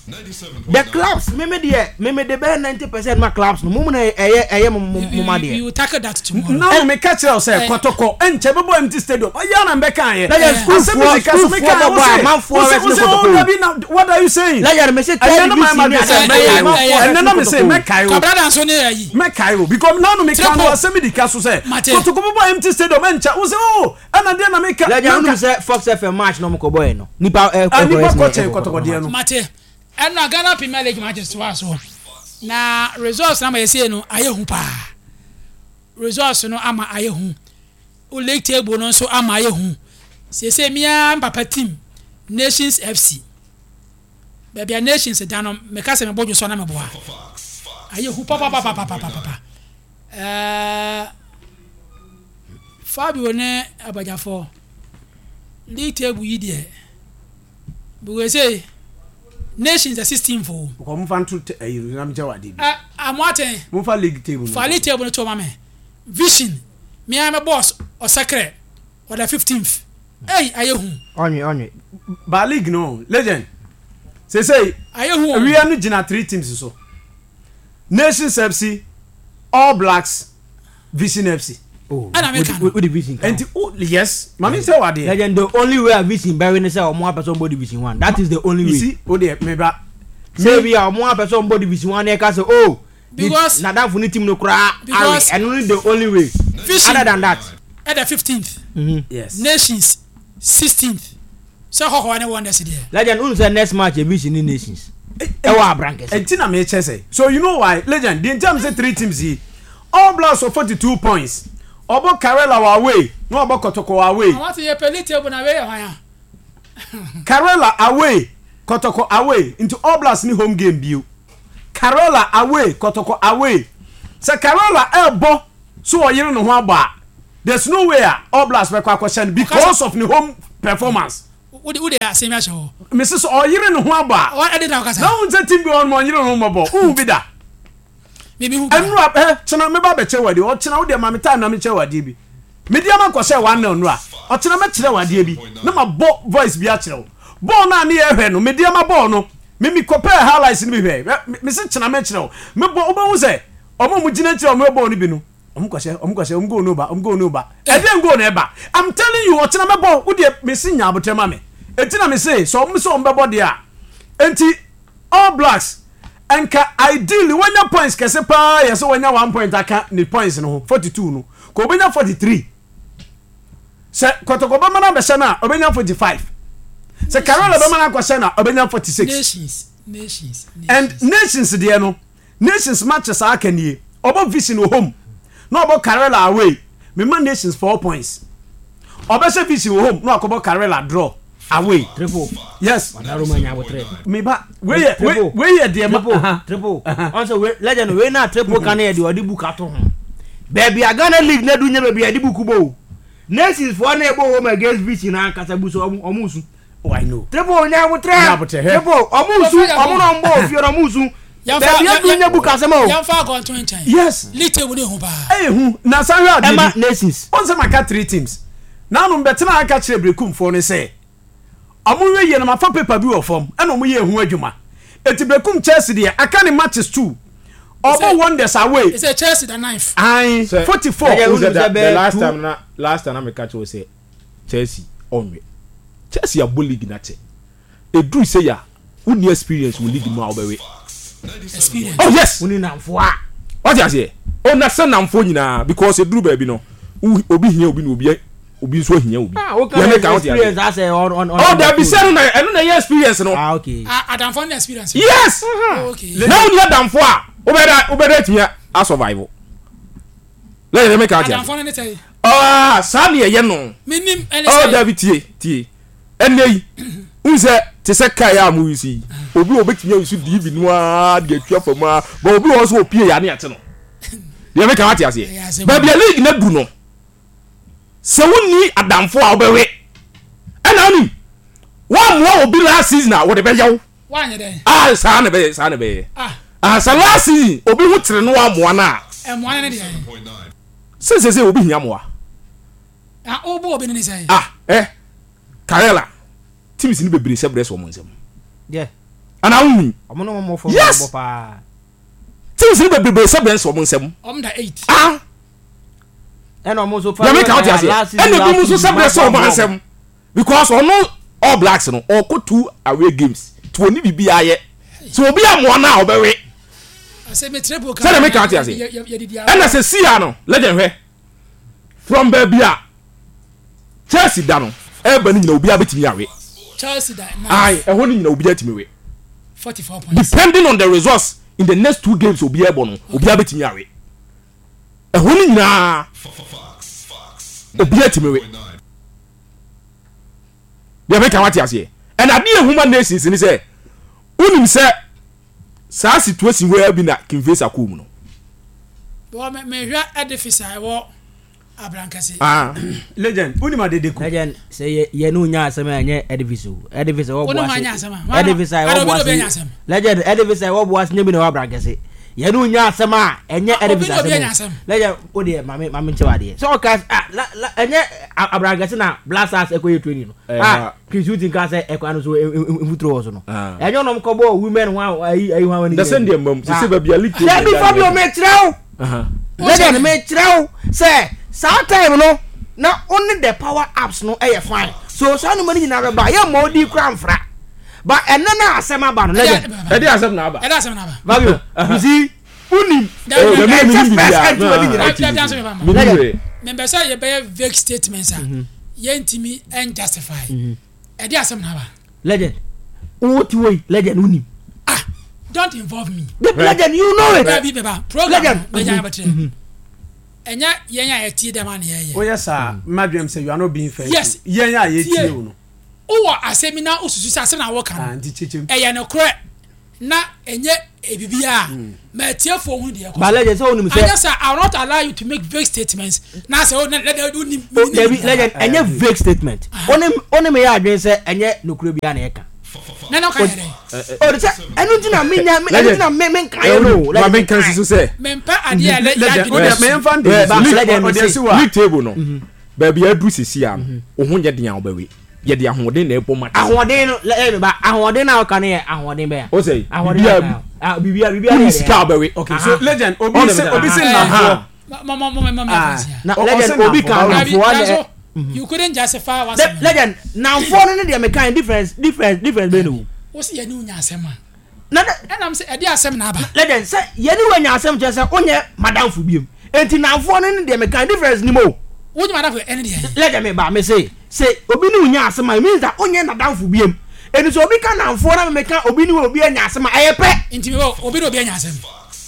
The clubs meme deɛ meme de bɛyɛ 90% ma clubs no mo mu na ɛyɛ ɛyɛ mo mo mo ma deɛ. We will tackle that tomorrow. Na no meka kyerɛ wo sɛ kɔtɔkɔ nkyɛ bɛbɔ empty stadium ɔyɛ na mbɛka ayɛ. Lẹ́yìn sukuufoɔ sukuufoɔ bɛbɔ a amanfoɔ rɛ sini kɔtɔkɔ. Dabi na what are you saying? Lẹ́yìn mese third division ni adi mɛkae o. Ɛnɛ na mese mɛkae o. Kwabrada nso ne ayi. Mɛkae o because na no meka no asɛm di ka so sɛ kɔtɔkɔ bɛbɔ empty stadium ɛnkyɛ wo sɛ oh ɛna deɛ na meka. Lẹ́yìn wonim sɛ Fox FM match na ɔmo kɔ bɔɛ no nipa ɛkɔ ɛsɛ nipa kɔ kyɛn kɔtɔkɔ deɛ no. Mate ɛna Ghana Premier League matches toa so na results na ama yɛsei no ayɛ hu paa results no ama ayɛ hu league table no nso ama ayɛ hu seesei me ara me papa team Nations FC baabi a Nations da no meka sɛ mebɔ dwo so na meboa ayɛ hu papapapapapapa ɛɛ Fabio ne abagyafoɔ league table yi deɛ Because say nations the 16 fo. Because mo fa nto ɛyi no na mi kyɛ wa de bi. Ɛ amoaten. Mo fa league table no. Fa league table no to ma me. Vision me ara me boss ɔsɛkrɛ ɔda 15th. Ei ayɛ hu. Ɔnwe ɔnwe. Ba league no legend. Sesei. Ayɛ hu o. Wia no gyina three teams so. Nations FC, All Blacks, Vision FC. Oh, Ɛna meka no. Wode Vision ka ho. Nti o yes, ma me nsɛ wo adeɛ. Legend, the only way a Vision bɛwe ne sɛ ɔmo apɛ sɛ ɔmo bɔ Division One. That is the only way. You see, o deɛ me ba. Sɛ bi a ɔmo apɛ sɛ ɔmo bɔ Division One na ɛka sɛ oh, Because nadamfo ne team no koraa awe. Because Ɛno ne the only way. Vision Other than that. ɛda 15th, Yes. Nations 16th. Sɛ hɔhoa ne Wonders deɛ. Legend, wonim sɛ next match yɛ Vision ne Nations ɛwɔ Abrankɛse. Nti na mekyɛ sɛ so you know why legend deɛ nti a mesɛ three teams yi All Blacks wɔ 42 points ɔbɔ Karela wɔ away na ɔbɔ Kɔtɔkɔ wɔ away. Àwọn ti yɛ pɛ league table na wei yɛ hwan a. Karela away Kɔtɔkɔ away nti All Blacks ni home game bio Karela away Kɔtɔkɔ away sɛ Karela ɛɛbɔ so ɔyere ne ho abɔ a. There's no way a All Blacks bɛkɔ akɔhyɛ no because of ne home performance. Wode wode asɛm yi ahyɛ hɔ. Mese sɛ ɔyere ne ho abɔ a. Ɔ ɛde na ɔkasa. Na wohu sɛ team bi wɔ hɔ nom ɔnyere ne ho mmɔbɔ. Wohu bi da? Me me hu bi da. Ɛnura ɛ kyena meba abɛkyerɛ wo adeɛ. Ɔkyena wo deɛ ma me time na menkyerɛ wo adeɛ bi. Mede ama kɔhyɛɛ one nil nnora. Ɔkyena mɛkyerɛ wo adeɛ bi na mabɔ voice bi akyerɛ wo. Bɔɔl no a ne yɛhwɛ no, mede ama bɔɔl no. Me mekɔpɛɛ highlights no bi hwɛɛ. Hwɛ mese kyena mɛkyerɛ wo. Mebɔ wobɛhu sɛ wɔn a wɔgyina akyire a wɔhwɛ bɔɔl no bi no, Ɔmo kɔhyɛ, ɔmo kɔhyɛ, ɔmo goal no ba, ɔmo goal no ba. Ɛdeɛn goal na ɛba? I'm telling you, ɔkyena mɛbɔ, wo deɛ mese nya abotrɛ ma me. Enti na mese sɛ ɔmo sɛ ɔmo bɛbɔ deɛ a, enti All Blacks nka ideally wanya points kɛse paa yɛ sɛ wanya one point aka ne points no ho, 42 no, ka obenya 43. Sɛ Kɔtɔkɔ bɛma no abɛhyɛ no a, ɔbɛnya 45. Sɛ Karela bɛma no akɔhyɛ no a, ɔbɛnya 46. Nations, nations, And nations. nations deɛ no, Nations matches a aka nie, ɔbɔ Vision wɔ home na ɔbɔ Karela away, mema Nations 4 points. Ɔbɛhyɛ Vision wɔ home na wakɔbɔ Karela draw away. Triple. Yes. Wadaroma nya abotrɛ. Me ba, wei yɛ wei Triple. wei yɛ deɛ ma. Triple. aha. Triple. Ɔn sɛ wei legend wei na triple ka no yɛ deɛ ɔde book ato ho. Baabi a Ghana league na du nyɛ baabi a yɛde book bɔ o. Nations foɔ na ɛbɔ home against Vision ankasa bu so ɔmo ɔmo su. Oh, I know. Triple nya abotrɛ. Nya abotrɛ, hwɛ. Triple ɔmo su ɔmo na ɔmo bɔ ofie na ɔmo su. Baabi adu nyɛ book asɛm o. Yɛmfa akɔnto nkyɛn. Yes. League table no ehu paa. Ɛyɛ hu. Na san hwɛ adeɛ Ɛma bi. Nations. Wɔn sɛ maka three teams. Nanom bɛtena aka kyerɛ Berekumfoɔ no sɛ ɔmo nhwɛ yie na mafa paper bi wɔ fam ɛna ɔmo yɛ ɛho adwuma. Eti Berekum Chelsea deɛ aka ne matches two. Ɔbɔ Wonders away. Ɛsɛ Chelsea da ninth. Ae, Sɛ- 44. Ɛyɛ Wohu sɛ wonim da- sɛ the bɛyɛ last two- time na last time na meka kyerɛ wo sɛ Chelsea ɔnwe. Chelsea abɔ league no akyɛ. Ɛduru sei a wonni experience wɔ league mu a wobɛwe. Experience. Oh yes. Wonni nnamfoɔ a. Wate aseɛ? Oh na sɛ nnamfoɔ nyinaa because ɛduru baabi no obi hia obi na obi obi nso ahia obi. Ah, woka Yɛ meka wote aseɛ? experience asɛ on on on. Oh dabi sɛ ɛno na ɛno na ɛyɛ experience no. Ah okay. Ah, adamfoɔ no na experience. Yes. Oh, okay. Na wonni adamfoɔ a wobɛda wobɛda atumi a survive. Lẹ́yìn rẹ̀ mẹ́ka ati ase. Adamfoɔ no ne sɛ. Ah, saa ni ɛyɛ no. Menim ɛne Oh, sɛ. dabi tie tie. Ɛnɛ yi, n sɛ te sɛ kaa yɛ a mo yusu yi. Obi wɔ obetumi ayusu DV no ara de atwa fam ara, but obi wɔ hɔ nso opie yɛ ane ate no. Deɛ meka wate aseɛ. Baabi a league no adu no, sɛ wonni adamfo a wobɛwe. Ɛna wonim, woammoa obi last season a wɔde bɛyɛ wo. Woanyɛ dɛn? Ah, saa na ɛbɛyɛ, saa na ɛbɛyɛ. Ah. Ah, sɛ last season obi ho kyere no woammoa no a. Mmoa no ne deɛ? Sɛ sɛ sɛ obi hia mmoa. Ah, wobɔ obi no ne sɛn? Ah, eh, Karela, teams no bebree sɛ brɛ sɛ wɔn nsam. Yeah. Ana wohu? Ɔmo ne wɔn fam Yes. bɔ paa. Teams no bebree sɛ brɛ sɛ wɔn nsam. Ɔmo da 8. Ah. Ɛna ɔmo nso fa. Deɛ meka wote aseɛ. Ɛna ebi mu nso sɛ brɛ sɛ wɔn nsam. Because ɔno All Blacks no ɔkɔ two away games nti ɔni biribi ayɛ. Sɛ obi amoa no a ɔbɛwe. Sɛdeɛ meka wote aseɛ. Ɛna sɛ sia no legend hwɛ from baabi a Chelsea da no ɛreba no nyina obiara bɛtumi awe. Chelsea da Aye, ɛhɔ no nyina obiara tumi we. 44 points. Depending on the results in the next two games obiara bɔ no obiara bɛtumi awe. Ɛhɔ no nyinaa obiara tumi we. Deɛ meka wate aseɛ. Ɛna adeɛ ehuma nations ni sɛ wonim sɛ saa situation wei bi na King Faisal kɔɔ mu no. Bɔ me mehwɛ edifice a ɛwɔ Abrankɛse. Ah. Legend, wonim adedeku. Legend, sɛ yɛ yɛ ne onya asɛm a ɛnyɛ edifice o. Edifice ɛwɔ Wo ne boase. hwan nya asɛm a? Edifice a Ada ɛwɔ obi ne obi anya boase. asɛm. Legend, edifice a ɛwɔ boase nyɛ bi na ɛwɔ Abrankɛse. Yɛ ne onya asɛm a ɛnyɛ Ah, obi edifice ne obi asɛm anya o. asɛm. Legend, o deɛ maame maame nkyɛw adeɛ. Sɛ ɔka ah la la ɛnyɛ Abrankɛse na Black Stars ɛkɔyɛ training no. Eh, Ah, Chris Hughton ka sɛ ɛkwan no so mfuturo wɔ so no. Ah. Ɛnyɛ ɔnom kɔbɔ women ho ayi ayi ho awani. Na sɛ deɛ mmam sɛ sɛ baabi a league table Dabi Fabio mekyerɛ wo. Legend mekyerɛ wo sɛ saa time no na only the power apps no ɛyɛ fine. So saa nneɛma no nyinaa bɛba yɛ mma odi kura nfra. But ɛnɛ na asɛm aba no legend. Ɛde asɛm na aba. Ɛde asɛm na aba. Fabio you see wonim. Ɛkyɛ first ɛntuma ne nyinaa. Mempɛ sɛ yɛbɛyɛ vague statements a yɛntumi ɛnjustify. Ɛde asɛm na aba. Legend wo ti wɔ yi legend wonim. Ah don't involve me. The legend you know it. Baabi bɛba program no bɛgya abɛkyerɛ. Ɛnyɛ yɛn a yɛtie dɛm a na yɛyɛ. Woyɛ saa mmadwem sɛ you are not being fair. Yes. Yɛn a yɛtie wo no. Wowɔ asɛm bi na wosusu sɛ asɛm na woka no Ah, nti kyekyem. ɛyɛ nokorɛ. na ɛnyɛ biribiara a, ma atiefoɔ hunu deɛ ɛkɔ so. But legend sɛ wonim sɛ. Anyɛ saa, I will not allow you to make vague statements na sɛ wo na na wonim. O dabi legend ɛnyɛ vague statement. Wo ne me yɛ adwene sɛ ɛnyɛ nokorɛ biara na yɛka. Na na ɔka yɛ dɛn? O de sɛ ɛno nti na menya ɛno nti na me me nka yɛ no. Ma me nka nsusu sɛ. Mempɛ adeɛ a yɛ adwene bɛsu. League table no baabi a aduru sisi a no wo ho nyɛ den a wobɛwe. Yɛde ahoɔden na ɛbɔ match. Ahoɔden no lɛ ɛyɛ ba ahoɔden na ɔka no yɛ ahoɔden bɛn a. O sɛ bibia bibia bibia wonni sika a wobɛwe. Okay so legend obi se obi se nnamfoɔ. Na legend obi ka nnamfoɔ na. You couldn't justify what. Legend nnamfoɔ no ne deɛ meka difference difference difference bɛn na wɔ mu. Wo se yɛne wo nya asɛm a. Na dɛ. Ɛna mese ɛde asɛm na aba. Legend sɛ yɛne wo anya asɛm kyerɛ sɛ wonyɛ madamfo biom enti namfoɔ no ne deɛ meka difference nim o. Wonyɛ madamfo ɛne deɛ. Legend me ba mese sɛ obi ne wo nya asɛm a it means that wonyɛ nadamfo biom enti sɛ obi ka namfoɔ na me meka obi ne obi anya asɛm a ɛyɛ pɛ. Nti mewɔ obi ne obi anya asɛm.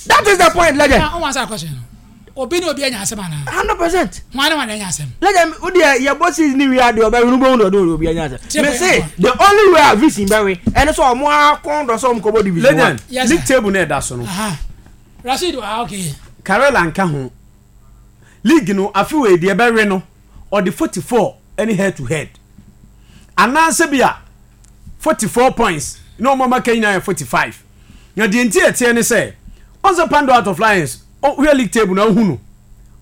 That is the point legend. Na wo answer question no. Obi ne obi anya asɛm anaa? 100%. Hwan ne hwan na anya asɛm? Legend, wo deɛ yɛbɔ season ni wie a deɛ ɔbɛwe no wobɛhu deɛ ɔde obi anya asɛm. Me se the only way a vision bɛwe ɛne sɛ ɔmo ara kɔn dɔ sɛ ɔmo kɔbɔ division one. Legend, league table no ɛda so no. Rashid, ah okay. Karela nka ho. League no afe wei deɛ ɛbɛwe no ɔde 44 ɛne head to head. Anaasɛ bi a 44 points na ɔmo a ɔmo aka nyinaa yɛ 45. Na deɛ nti ɛteɛ ne sɛ, ɔn sɛ Pando out of Lions, wohwɛ league table na wohu no,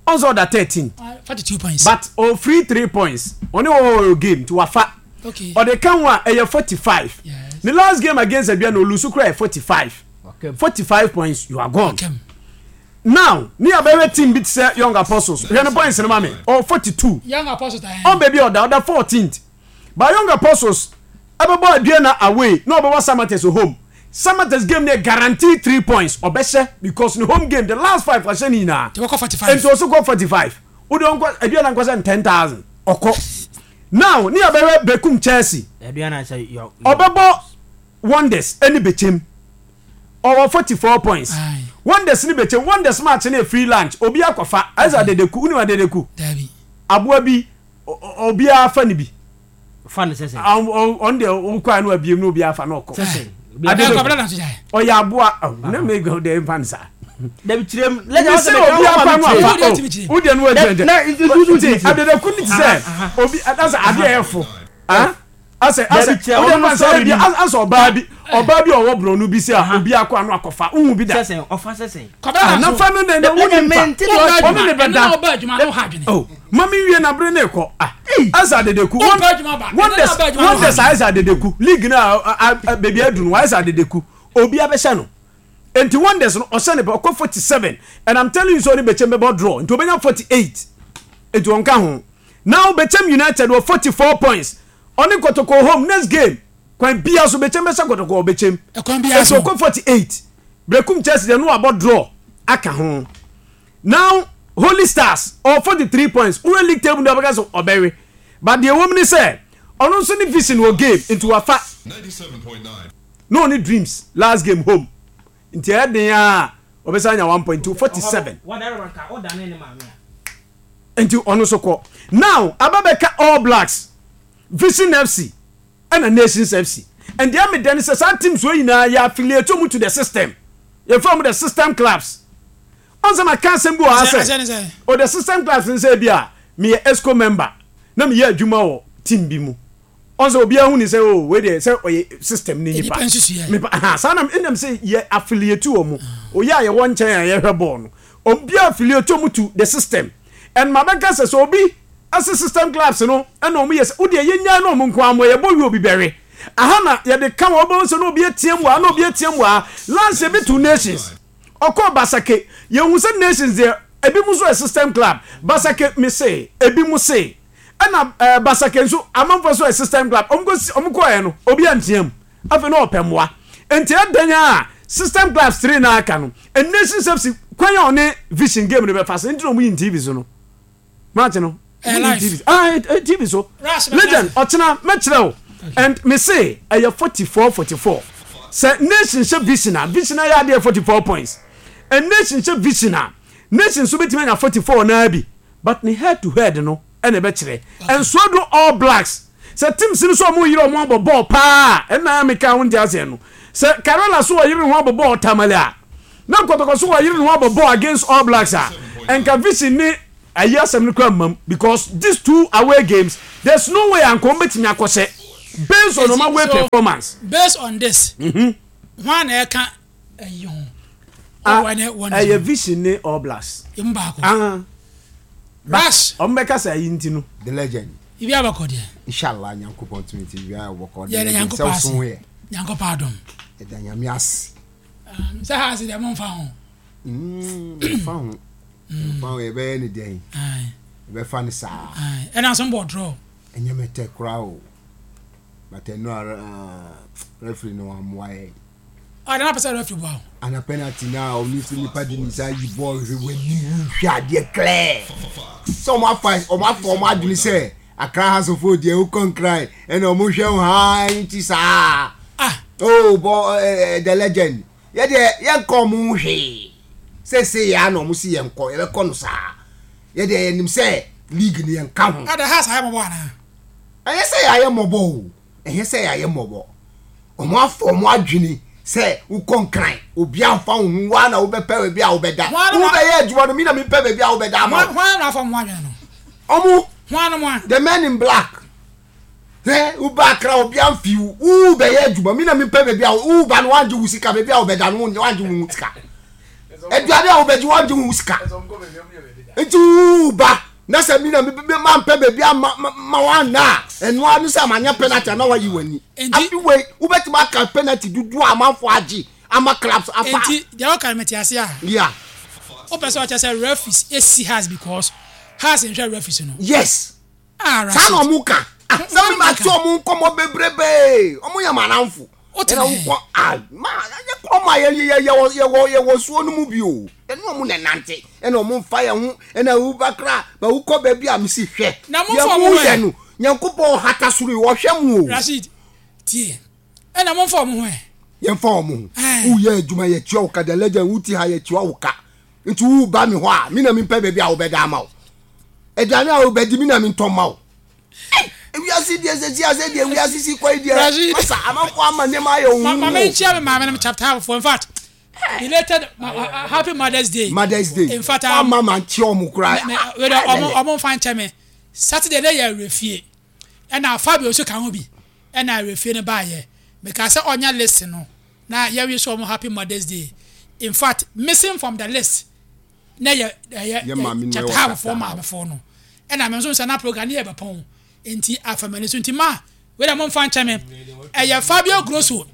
ɔn sɛ ɔda 13. 42 points. But ɔfiri 3 points, ɔne ɔwɔ game nti wafa. Okay. Ɔde ka ho a ɛyɛ 45. Yes. Ne last game against Aduana olusu koraa yɛ 45. Okay. 45 points, you are gone. Okay. Now, ne yɛbɛhwɛ team bi te sɛ Young Apostles. Hwɛ ne points no ma me. Ɔwɔ 42. Young Apostles. Ɔn baabi a ɔda, ɔda 14th. But Young Apostles ɛbɛbɔ Aduana away na ɔbɛbɔ Samatex home. Samatex game no yɛ guarantee 3 points ɔbɛhyɛ because ne home game the last 5 wahyɛ ne nyinaa. Nti wɔkɔ 45. Nti ɔso kɔ 45. Wode ɔnkɔ Aduana nkɔ sɛ 10,000 ɔkɔ. Now ne yɛbɛhwɛ Bekum Chelsea. Aduana sɛ yɔ. Ɔbɛbɔ Wonders ɛne Bechem. Ɔwɔ 44 points. Aye. Wonders ne Bechem. Wonders match no yɛ free lunch. Obi akɔfa. Ayɛ sɛ Adedeku. Wonim Adedeku? Dabi. Aboa bi obiara fa ne bi. Fa ne sɛsɛ. Ɔno deɛ wokɔ a na wabiem na obiara fa na ɔkɔ. Sɛsɛ. Ɔyɛ aboa na me deɛ mfa ne saa. Dabi kyerɛ mu. Lẹ́yìn ọ̀sẹ̀ obi afa no afa o deɛ no wa gyina gyina. Adedeku ne ti sɛ obi asɛ adeɛ yɛ fo. Asɛ asɛ o deɛ fa sɛ ebi asɛ ɔbaa bi ɔbaa bi a ɔwɔ borɔno bi sɛ a obi akɔ ano akɔfa wohu bi da. Sɛsɛ ɔfa sɛsɛ. Nafa no na wo ni nfa ɔno ne bɛ da. Oh ma mi nwie na bere ne kɔ ah asɛ adedeku wonders wonders ayɛ sɛ adedeku league na beebi aduru no wayɛ sɛ adedeku obi abɛhyɛ no nti wonders no ɔhyɛ ne pɛ ɔkɔ 47 and i'm telling you sɛ ɔne bɛkyɛm bɛbɔ draw nti ɔbɛnya 48 nti ɔnka ho now bɛkyɛm united wɔ 44 points ɔne kotoko home next game kwan bia so bɛkyɛm bɛhyɛ kotoko ɔbɛkyɛm nti ɔkɔ 48 Berekum Chelsea deɛ no wabɔ draw aka ho now Holy Stars ɔwɔ 43 points wura league table no ɔbɛka sɛ ɔbɛwe but deɛ wɔm ne sɛ ɔno nso ne vision wɔ game nti wafa na ɔne Dreams last game home nti ɛyɛ den a ɔbɛsan anya 1.2 47 nti ɔno nso kɔ now aba bɛka All Blacks Vision FC ɛna Nations FC and deɛ meda ne sɛ saa teams wɔ nyinaa yɛ affiliate wɔn to the system yɛfrɛ wɔn the system clubs ɔn sɛ maka asɛm bi wɔ ha sɛ o the system clubs n sɛ bi a meyɛ EXCO member na meyɛ adwuma wɔ team bi mu ɔn sɛ obiara hu ne sɛ o wei deɛ sɛ ɔyɛ system ne nipa mepa ha saa na ɛnam sɛ yɛ affiliate wɔ mu oyɛ a yɛwɔ nkyɛn a yɛhwɛ bɔɔl no obiara affiliate wɔn to the system and ma bɛka sɛ sɛ obi Ase system clubs no na ɔmo yɛ sɛ wodeɛ yɛnyae na ɔmo nko ara mmɔ yɛbɔ wie obi bɛwe aha na yɛde ka wɔn wobɛhu sɛ na obi ateam wɔ ha na obi ateam wɔ ha last year bi too nations ɔkɔɔ basake yɛhu sɛ nations deɛ ebi mo nso yɛ system club basake me se ebi mo se ɛna ɛɛ eh, basake nso amanfoɔ nso yɛ system club ɔmo kɔ ɔmo kɔɛ no obi anteam afei na ɔpɛ mmoa nti ɛdɛn a system clubs three na aka no nations fc kwan a ɔne vision game no bɛfa so nti na ɔmo yi tv so no. Match no. Ɛyɛ live. TV ah eh, eh, TV so. Legend ɔkyena mɛkyerɛ wo and me se ɛyɛ 44 44. Sɛ nation hyɛ vision a vision ayɛ adeɛ 44 points. And nation hyɛ vision a nation nso bɛtumi anya 44 naa bi but ne head to head no ɛna ɛbɛkyerɛ. And so do all blacks. Sɛ teams no sɛ ɔmo yere ɔmo abɔ bɔɔl paa ɛna meka ho nte aseɛ no. Sɛ Karela so ɔyere ne ho abɔ bɔɔl Tamale a, na Kɔtɔkɔ so ɔyere ne ho abɔ bɔɔl against All Blacks a, nka Vision ne ayi asɛm no koraa mmam because these two away games, there's no way a nka wɔn bɛtumi akɔhyɛ based on wɔn away so, performance. Based on this, hwan na ɛka ɛyi ho? Ah, Ɔwɔ ne wɔn ɛyɛ Vision ne All Blacks. Emu baako. Ah. Rush. Wɔn bɛka sɛ ayi nti no. The legend. Ibi abakɔ deɛ. Inshallah Nyankopɔn tumi ti ibi abakɔ. Yɛ de Nyankopɔn ase. Nyankopɔn adom. Yɛda Nyame ase. Sɛ ha ase deɛ mo nfa ho. Nfa ho. Nfa ho yɛbɛyɛ ne dɛn. Yɛbɛfa ne saa. Ɛna nso mbɔ draw. Ɛnyɛ mɛtɛ koraa o. But ɛno ara referee no amoa yɛn. Ɔde na pɛ sɛ referee boa wo. Ana penalty na ɔno nso nipa de ne nsa ayi bɔɔl hwɛ w'anim wohwɛ adeɛ clear sɛ ɔmo afa ɔmo afa ɔmo adwene sɛ Accra Hearts of Oak deɛ wokɔ nkran ɛna ɔmo hwɛ wo haa nti saa ah oh bɔ ɛɛ the legend yɛ deɛ yɛnkɔ ɔmo ho hwee sɛsɛ yɛ ana ɔmo si yɛnkɔ yɛbɛkɔ no saa yɛ deɛ yɛnim sɛ league no yɛnka ho. Ada Hearts ayɛ mɔbɔ anaa. Ɛnyɛ sɛ yɛayɛ mɔbɔ o ɛnyɛ sɛ yɛayɛ mmɔbɔ. Wɔn afa wɔn adwene sɛ wokɔ nkran, obi amfa wo ho, woa na wobɛpɛ baabi a wobɛda. Wobɛyɛ adwuma no, me na mepɛ baabi a wobɛda ama wo. Hwan na afa wɔn adwene no? Ɔmo. Hwan mo a? The men in black. Hwɛ, woba akra obi amfi wo, wobɛyɛ adwuma, me na mepɛ baabi a woba no wangye wo sika, baabi a wobɛda no wangye wo sika. Aduane a wobɛgye wangye wo sika. Nti woba na sɛ mi na mi mampɛ baabi a ma ma wanna a ɛno ara ne sɛ manyɛ penalty a na wayi w'ani afi wei wobɛtumi aka penalty dodoɔ a amanfoɔ agye ama clubs afa. Nti deɛ woka no mete ase a. Yeah. Wopɛ sɛ ɔkyɛ sɛ referees esi Hearts because Hearts nhwɛ referees no. Yes. Ah, Saa na Rashid. ɔmo ka. Ah, sɛ mi ma te ɔmo nkɔmɔ bebrebee ɔmo yɛ m'anamfo. Wote Ɛna ne he? wokɔ ah ma yɛ kɔ ma yɛ yɛ yɛ yɛwɔ yɛwɔ suo no mu bi o. Yɛne ɔmo na ɛnante ɛna ɔmo nfa yɛn ho ɛna woba kra ba wokɔ baabi a mesi hwɛ. Na Deɛ momfa ɔmo mo ho yɛ ɛ. no Nyankopɔn ɔhata soro yi ɔhwɛ mo o. Rashid, tie. Ɛna momfa ɔmo ho ɛ. Yɛnfa ɔmo ho. Ɛɛ. Woyɛ adwuma yɛtua wo ka the legend wote ha yɛtua wo ka. Nti woba me hɔ a me na mempɛ baabi a wobɛda ama wo. Aduane a wobɛdi me na mentɔ mma wo. Ewiase deɛ sɛ si ase deɛ wiase si kɔ yi deɛ masa amanfoɔ ama nneɛma ayɛ ohun. Ma me nkyia me maame no chapter foɔ in fact belated ma, uh, happy mother's day. Mother's day. In fact um, ma ma nkyia ɔmo koraa. Wei dɛ ɔmo ɔmo nfa nkyɛ me Saturday ne yɛ awurɛfie ɛna Fabio nso ka ho bi ɛna awurɛfie no baayɛ meka sɛ ɔnyɛ list no na yɛwi so ɔmo happy mother's day in fact missing from the list na yɛ ɛyɛ Yɛ maame no chapter ɛwɔ half foɔ chapter maame foɔ no ɛna me nso nsa na program ne yɛ bɛpɔn nti afa m'ani so nti ma wei dɛ momfa nkyɛ me ɛyɛ Fabio Grosso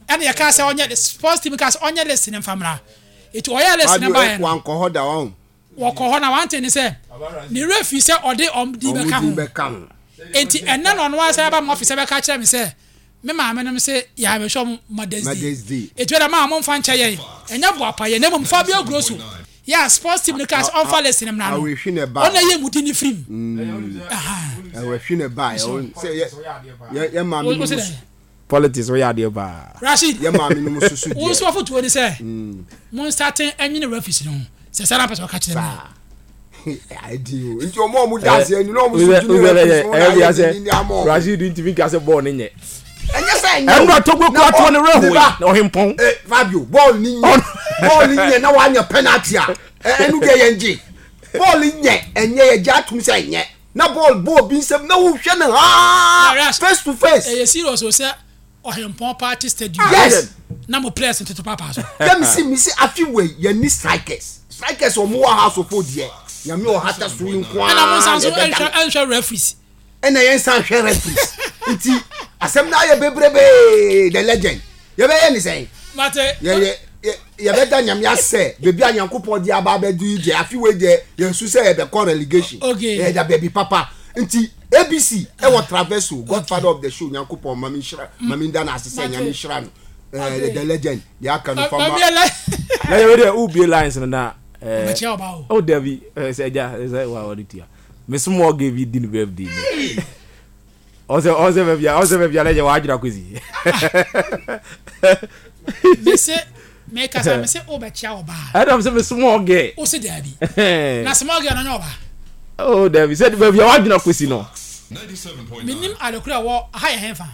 ɛna yɛka sɛ ɔnyɛ sports team ka sɛ ɔnyɛ list ne mfa mmra nti ɔyɛ list ne Fabio baeɛ no wankɔ hɔ da wɔn. wɔkɔ hɔ na wante ne sɛ ne werɛ fi sɛ ɔde ɔm din Ɔmo bɛka din ho bɛka ho. nti ɛnɛ na ɔno ara sɛ aba mo office bɛka kyerɛ me sɛ Me maame nom se yɛabɛhwɛ ɔmo Mother's Day. Mother's Day. Eti wɛda maa mo nfa nkyɛ yɛn. Ɛnyɛ boapa yɛn na mmom Fabio Grosso yɛ a sports team no kaa sɛ ɔnfa list no mmra no. Awerɛhwi na ɛbaeɛ. Ɔno na ɛyɛ mu din no firi mu. Ahaa. Awerɛhwi na ɛbaeɛ. Ɔn sɛ yɛ yɛ yɛ maame Wo nom se so. dɛn? Politics woyɛ adeɛ paa. Rashid, Yɛ maame nom so so wo deɛ. nso afotuo ne sɛ mo nsate nwene referees no ho. Sɛ saa na wopɛ sɛ ɔka kyerɛ me a. Saa. Adi o. Nti ɔmo a ɔmo da aseɛ ni na ɔmo so dwene referees ho na ayɛ dindindin ama ɔmo. Rashid ntumi nka sɛ bɔɔl no nyɛ. Ɛnyɛ sɛ ɛnyɛ o. Ɛnura Togo kura toɔ ne werɛ hoe na ɔhempɔn. Eh, Fabio, bɔɔl ni nyɛ. Bɔɔl ni nyɛ na wanyɛ penalty a. Ɛnu deɛ yɛn gye. Bɔɔl nyɛ ɛnyɛ yɛ gye atum sɛ ɛnyɛ. Na bɔɔl bɔ obi nsam na wohwɛ no haa face to face. Ɛyɛ serious o sɛ Ɔhempɔn party stadium. Yes. Na mo players ntoto paapaa so. Yɛ mesi mesi afi wei yɛ ni strikers strikers ɔmo wɔ house of deɛ nyame ɔhata so yi nko ara. Ɛna mo nsan so ɛnhwɛ ɛnhwɛ referees. Ɛna yɛn nsan hwɛ referees nti asɛm na ayɛ bebrebee the legend yɛbɛyɛ ne sɛn. Mate. Yɛ yɛ yɛbɛda nyame asɛ beebi a nyankopɔn de aba abɛdu yi deɛ afi wei deɛ yɛn su sɛ yɛbɛkɔ relegation. Okay. Yɛda baabi papa nti. ABC ɛwɔ Traverso Godfather of the show Nyankopɔn ma me nhyira ma me nda no ase sɛ Nyame nhyira no eh, the legend deɛ aka no fa ma na yɛ wei deɛ wobie lines no na eh, Ɔbɛkyia ɔba o. oh dabi eh, sɛ agya sɛ wa wɔde tua me small girl bi di ne birthday ni ɔsɛ ɔsɛ baabi a ɔsɛ baabi a na yɛ wadwena kɔsi Mese mekasa mese wobɛkyia ɔbaa. Ɛna mese me small girl. Wose daabi. Na small girl no nyɛ ɔbaa. Oh daabi sɛ baabi a wadwena kɔsi no. Menim adekoro a ɛwɔ aha yɛ henfa?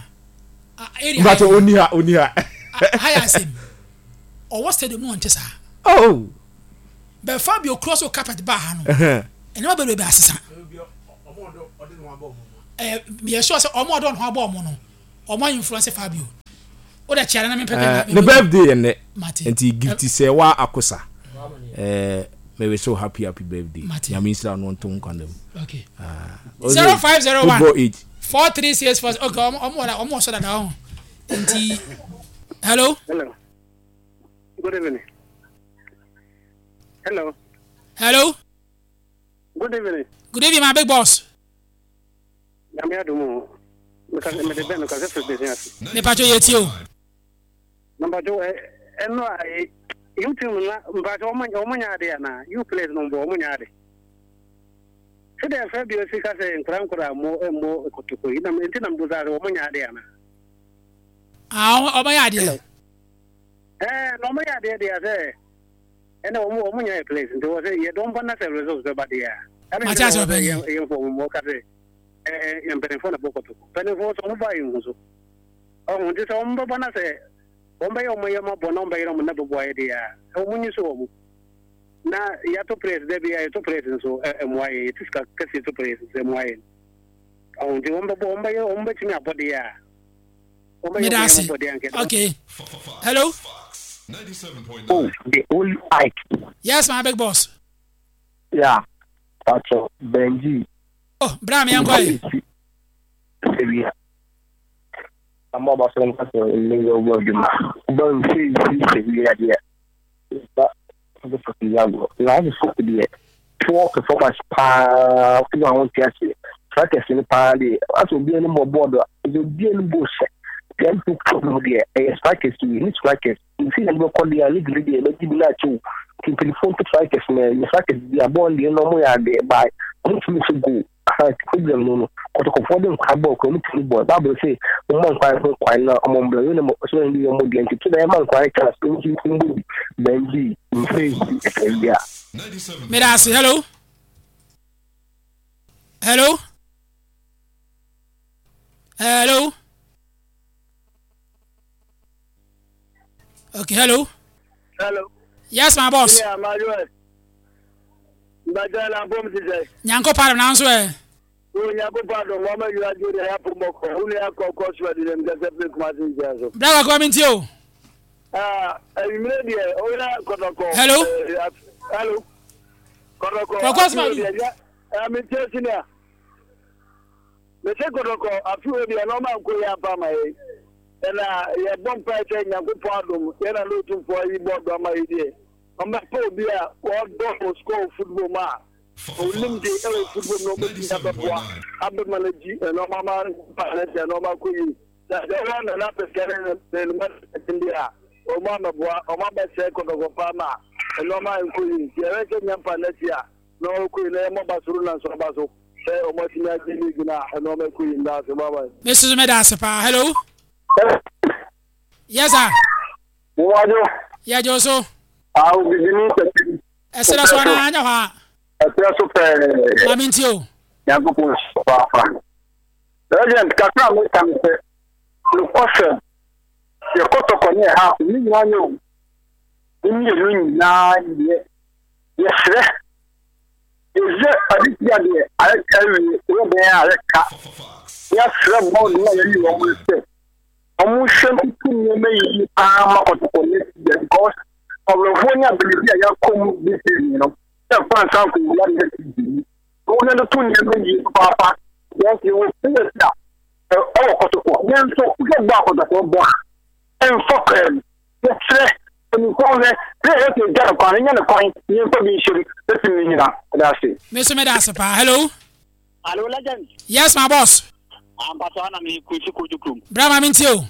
Area Mbatɔ onni ha onni ha. Ha yɛ asɛm. Ɔwɔ stadium no ɔnte saa. Oh. But Fabio cross o carpet baa ha no. Nneɛma bebrebe asesa. Ɛɛ meyɛ sure sɛ ɔmo ɔdɔ ne ho abɔ ɔmo no ɔmo influence Fabio. O de kyerɛ na mempɛ kɛ. Ne birthday yɛ nnɛ. Nti gift sɛ wa akosa. Ɛɛ me wish you happy happy birthday. Nyame nhyira no nto nkwa na mu. Okay. 0501 Football age. 4364 okay ɔmo ɔmo wɔ ɔmo wɔ so dada ɔho. Nti hello. Hello. Good evening. Hello. Hello. Good evening. Good evening, my big boss. Nyame adom o. Mede bɛn no kasa firi bɛsi ase. Mepatwo yɛ tie o. Mpatwo ɛno a you team na mpatwo wɔn nyɛ ade anaa you players no mbɔ wɔn nyɛ ade. Sɛdeɛ fɛ bi osi ka sɛ nkora nkora mmɔ mmɔ kotoko yi na nti na mbusa sɛ wɔn nyɛ ade anaa. Ah, wɔn yɛ adeɛ. Ɛɛ na wɔn yɛ adeɛ deɛ sɛ ɛnna wɔn wɔn nyɛ yɛ players nti wɔ sɛ yɛ dɔn ba na sɛ results bɛba deɛ a. Ɛna Mate ase sɛ ɔpanyin. yɛn yɛn fɔ wɔn mmɔ ka sɛ ɛɛ mpanimfoɔ na bɔ kotoko mpanimfoɔ sɛ wɔn ba yɛn hu so ɔho nti sɛ wɔn bɛba na sɛ wɔn bɛyɛ wɔn yɛ ma bɔ na wɔn bɛyɛ wɔn na bɛbɔ ayɛ deɛ a wɔn nyi so wɔn na yɛato players dɛ bi a yɛto players nso ɛmoa yɛn yɛte sika kɛseɛ to players nso ɛmoa yɛn ɔho nti wɔn bɛbɔ wɔn bɛyɛ wɔn bɛtumi abɔ deɛ a wɔn bɛyɛ Meda wɔn yɛ ase. ma bɔ deɛ a nkɛ Okay. Hello. Oh, the only Ike. Yes, my big boss. Yeah, Pacho, Benji. Oh, bra me yankɔ yi. Sewia. Ama ɔba so nka sɛ ɛnyɛ yɛ ɔbɔ adwuma. Ɔba nse nsi sewia deɛ. Ba ɔbɛ fɔ sewia agorɔ. Na ɔbɛ fɔ deɛ. Poor performance paa fún àwọn ti ase. Strikers no paa deɛ. Asɛ obi anim bɔ bɔɔdo a. Ɛsɛ obi anim bɔ hyɛ. Deɛ mpo problem deɛ ɛyɛ strikers yi ne strikers. Nti na ɛbɛkɔ deɛ a league no deɛ ɛbɛgye bi na akyɛw. Nti mpanyinfoɔ nto strikers na ɛyɛ strikers bi a bɔɔl deɛ na ɔmo yɛ adeɛ by ɔmo tumi nso goal. Aha nti problem no no kɔtɔkɔfoɔ de nkwa bɔɔl kora ɔmo tumi bɔ. Bible sɛ ɔmo ma nkwa ho kwan na ɔmo mbra wei na mo ɔsɛ ɔmo de ɔmo deɛ nti to na ɛma nkwa chance ɔmo nso ntumi bɔ bi bɛngye nfɛ nsi ɛfɛ bi a. Meda ase. Hello. Hello. Hello. Okay, hello. Hello. Yes, my boss. Yeah, my boss. Mbajɛ la bom ti sɛ. Nyanko paadum na nso ɛ. O nyanko paadum wɔn bɛ yura jo de ya pɔmɔ kɔ. O ni akɔ kɔ sua di dɛm kɛsɛ pe kuma se nkyɛn so. Bra kakra mi nti o. Aa enyimire deɛ o yɛ kɔtɔkɔ. Hello. Hello. Kɔtɔkɔ. Kɔkɔ sima du. Ɛɛ mi tie senior. Mese kɔtɔkɔ afe wei deɛ nnoɔma nkɔ yie ampa ama yɛn ɛna yɛbɔ mpaeɛ sɛ Nyankopɔn adom yɛn na ne Otumfoɔ ayi bɔɔdo ama yɛ deɛ ɔmmɛpɛ obi a ɔdɔ wɔ sukuu football mu a ɔnim de ɛwɔ football mu na ɔbɛtumi abɛboa abɛma no agyi nnoɔma ama ne deɛ nnoɔma akɔ yie na deɛ ɔwɔ Nana Apɛsika ne ne ne mma deɛ a wɔn amɛboa wɔn abɛsɛe kɔtɔkɔ paa ma nnoɔma nkɔ yie nti yɛhwɛ sɛ Nyampa n'akyi a na ɔkɔ yie na yɛmmɔ ba soro na nso aba so. Sɛ ɔmo atumi agye league no a ɛno ɔmo ɛkɔ yie meda ase bye bye. Me soso meda ase paa hello. Yes sir. Mwadwo. Yɛgye wo so. Awo bibini sɛti. Ɛserɛ so anaa anyɛ hɔ a. Ɛserɛ so pɛɛ. Maame nti o. Nyankopɔn nhyira paapa. Legend kakra a meka ne sɛ nokwasɛm yɛ kɔtɔkɔ ne ɛha ne nyinaa nyɛ o. Ne mmienu nyinaa nyɛ yɛsrɛ Yɛhwɛ adesua deɛ ayɛ ka awie, yɛyɛ dɛn a ayɛ ka. Yɛasrɛ bɔɔd no a yɛyi wɔn no sɛ wɔnhwɛ ntutu nneɛma yie paa ma kɔtɔkɔ next year because ɔwerɛhoɔ ne abɛnidi a yɛakɔ mu this season no yɛmfa nsa nkɔwura next season mu. Wɔn ntoto nneɛma yie papaapa because yɛwɔ players a ɛwɔ kɔtɔkɔ nanso wohwɛ bɔ a kɔtɔkɔ bɔ a ɛmfa kwan mu. Yɛsrɛ mpanyinfoɔ nhwɛ na yɛyɛ sɛ yɛgya no kwan, yɛnya no kwan na yɛmfa bi nhyɛ mu na tim no nyina. Meda ase. Me nso meda ase paa. Hello. Hello legend. Yes my boss. Ampatɔ ana me kwesi kojo krom. Bra ma me ntie o.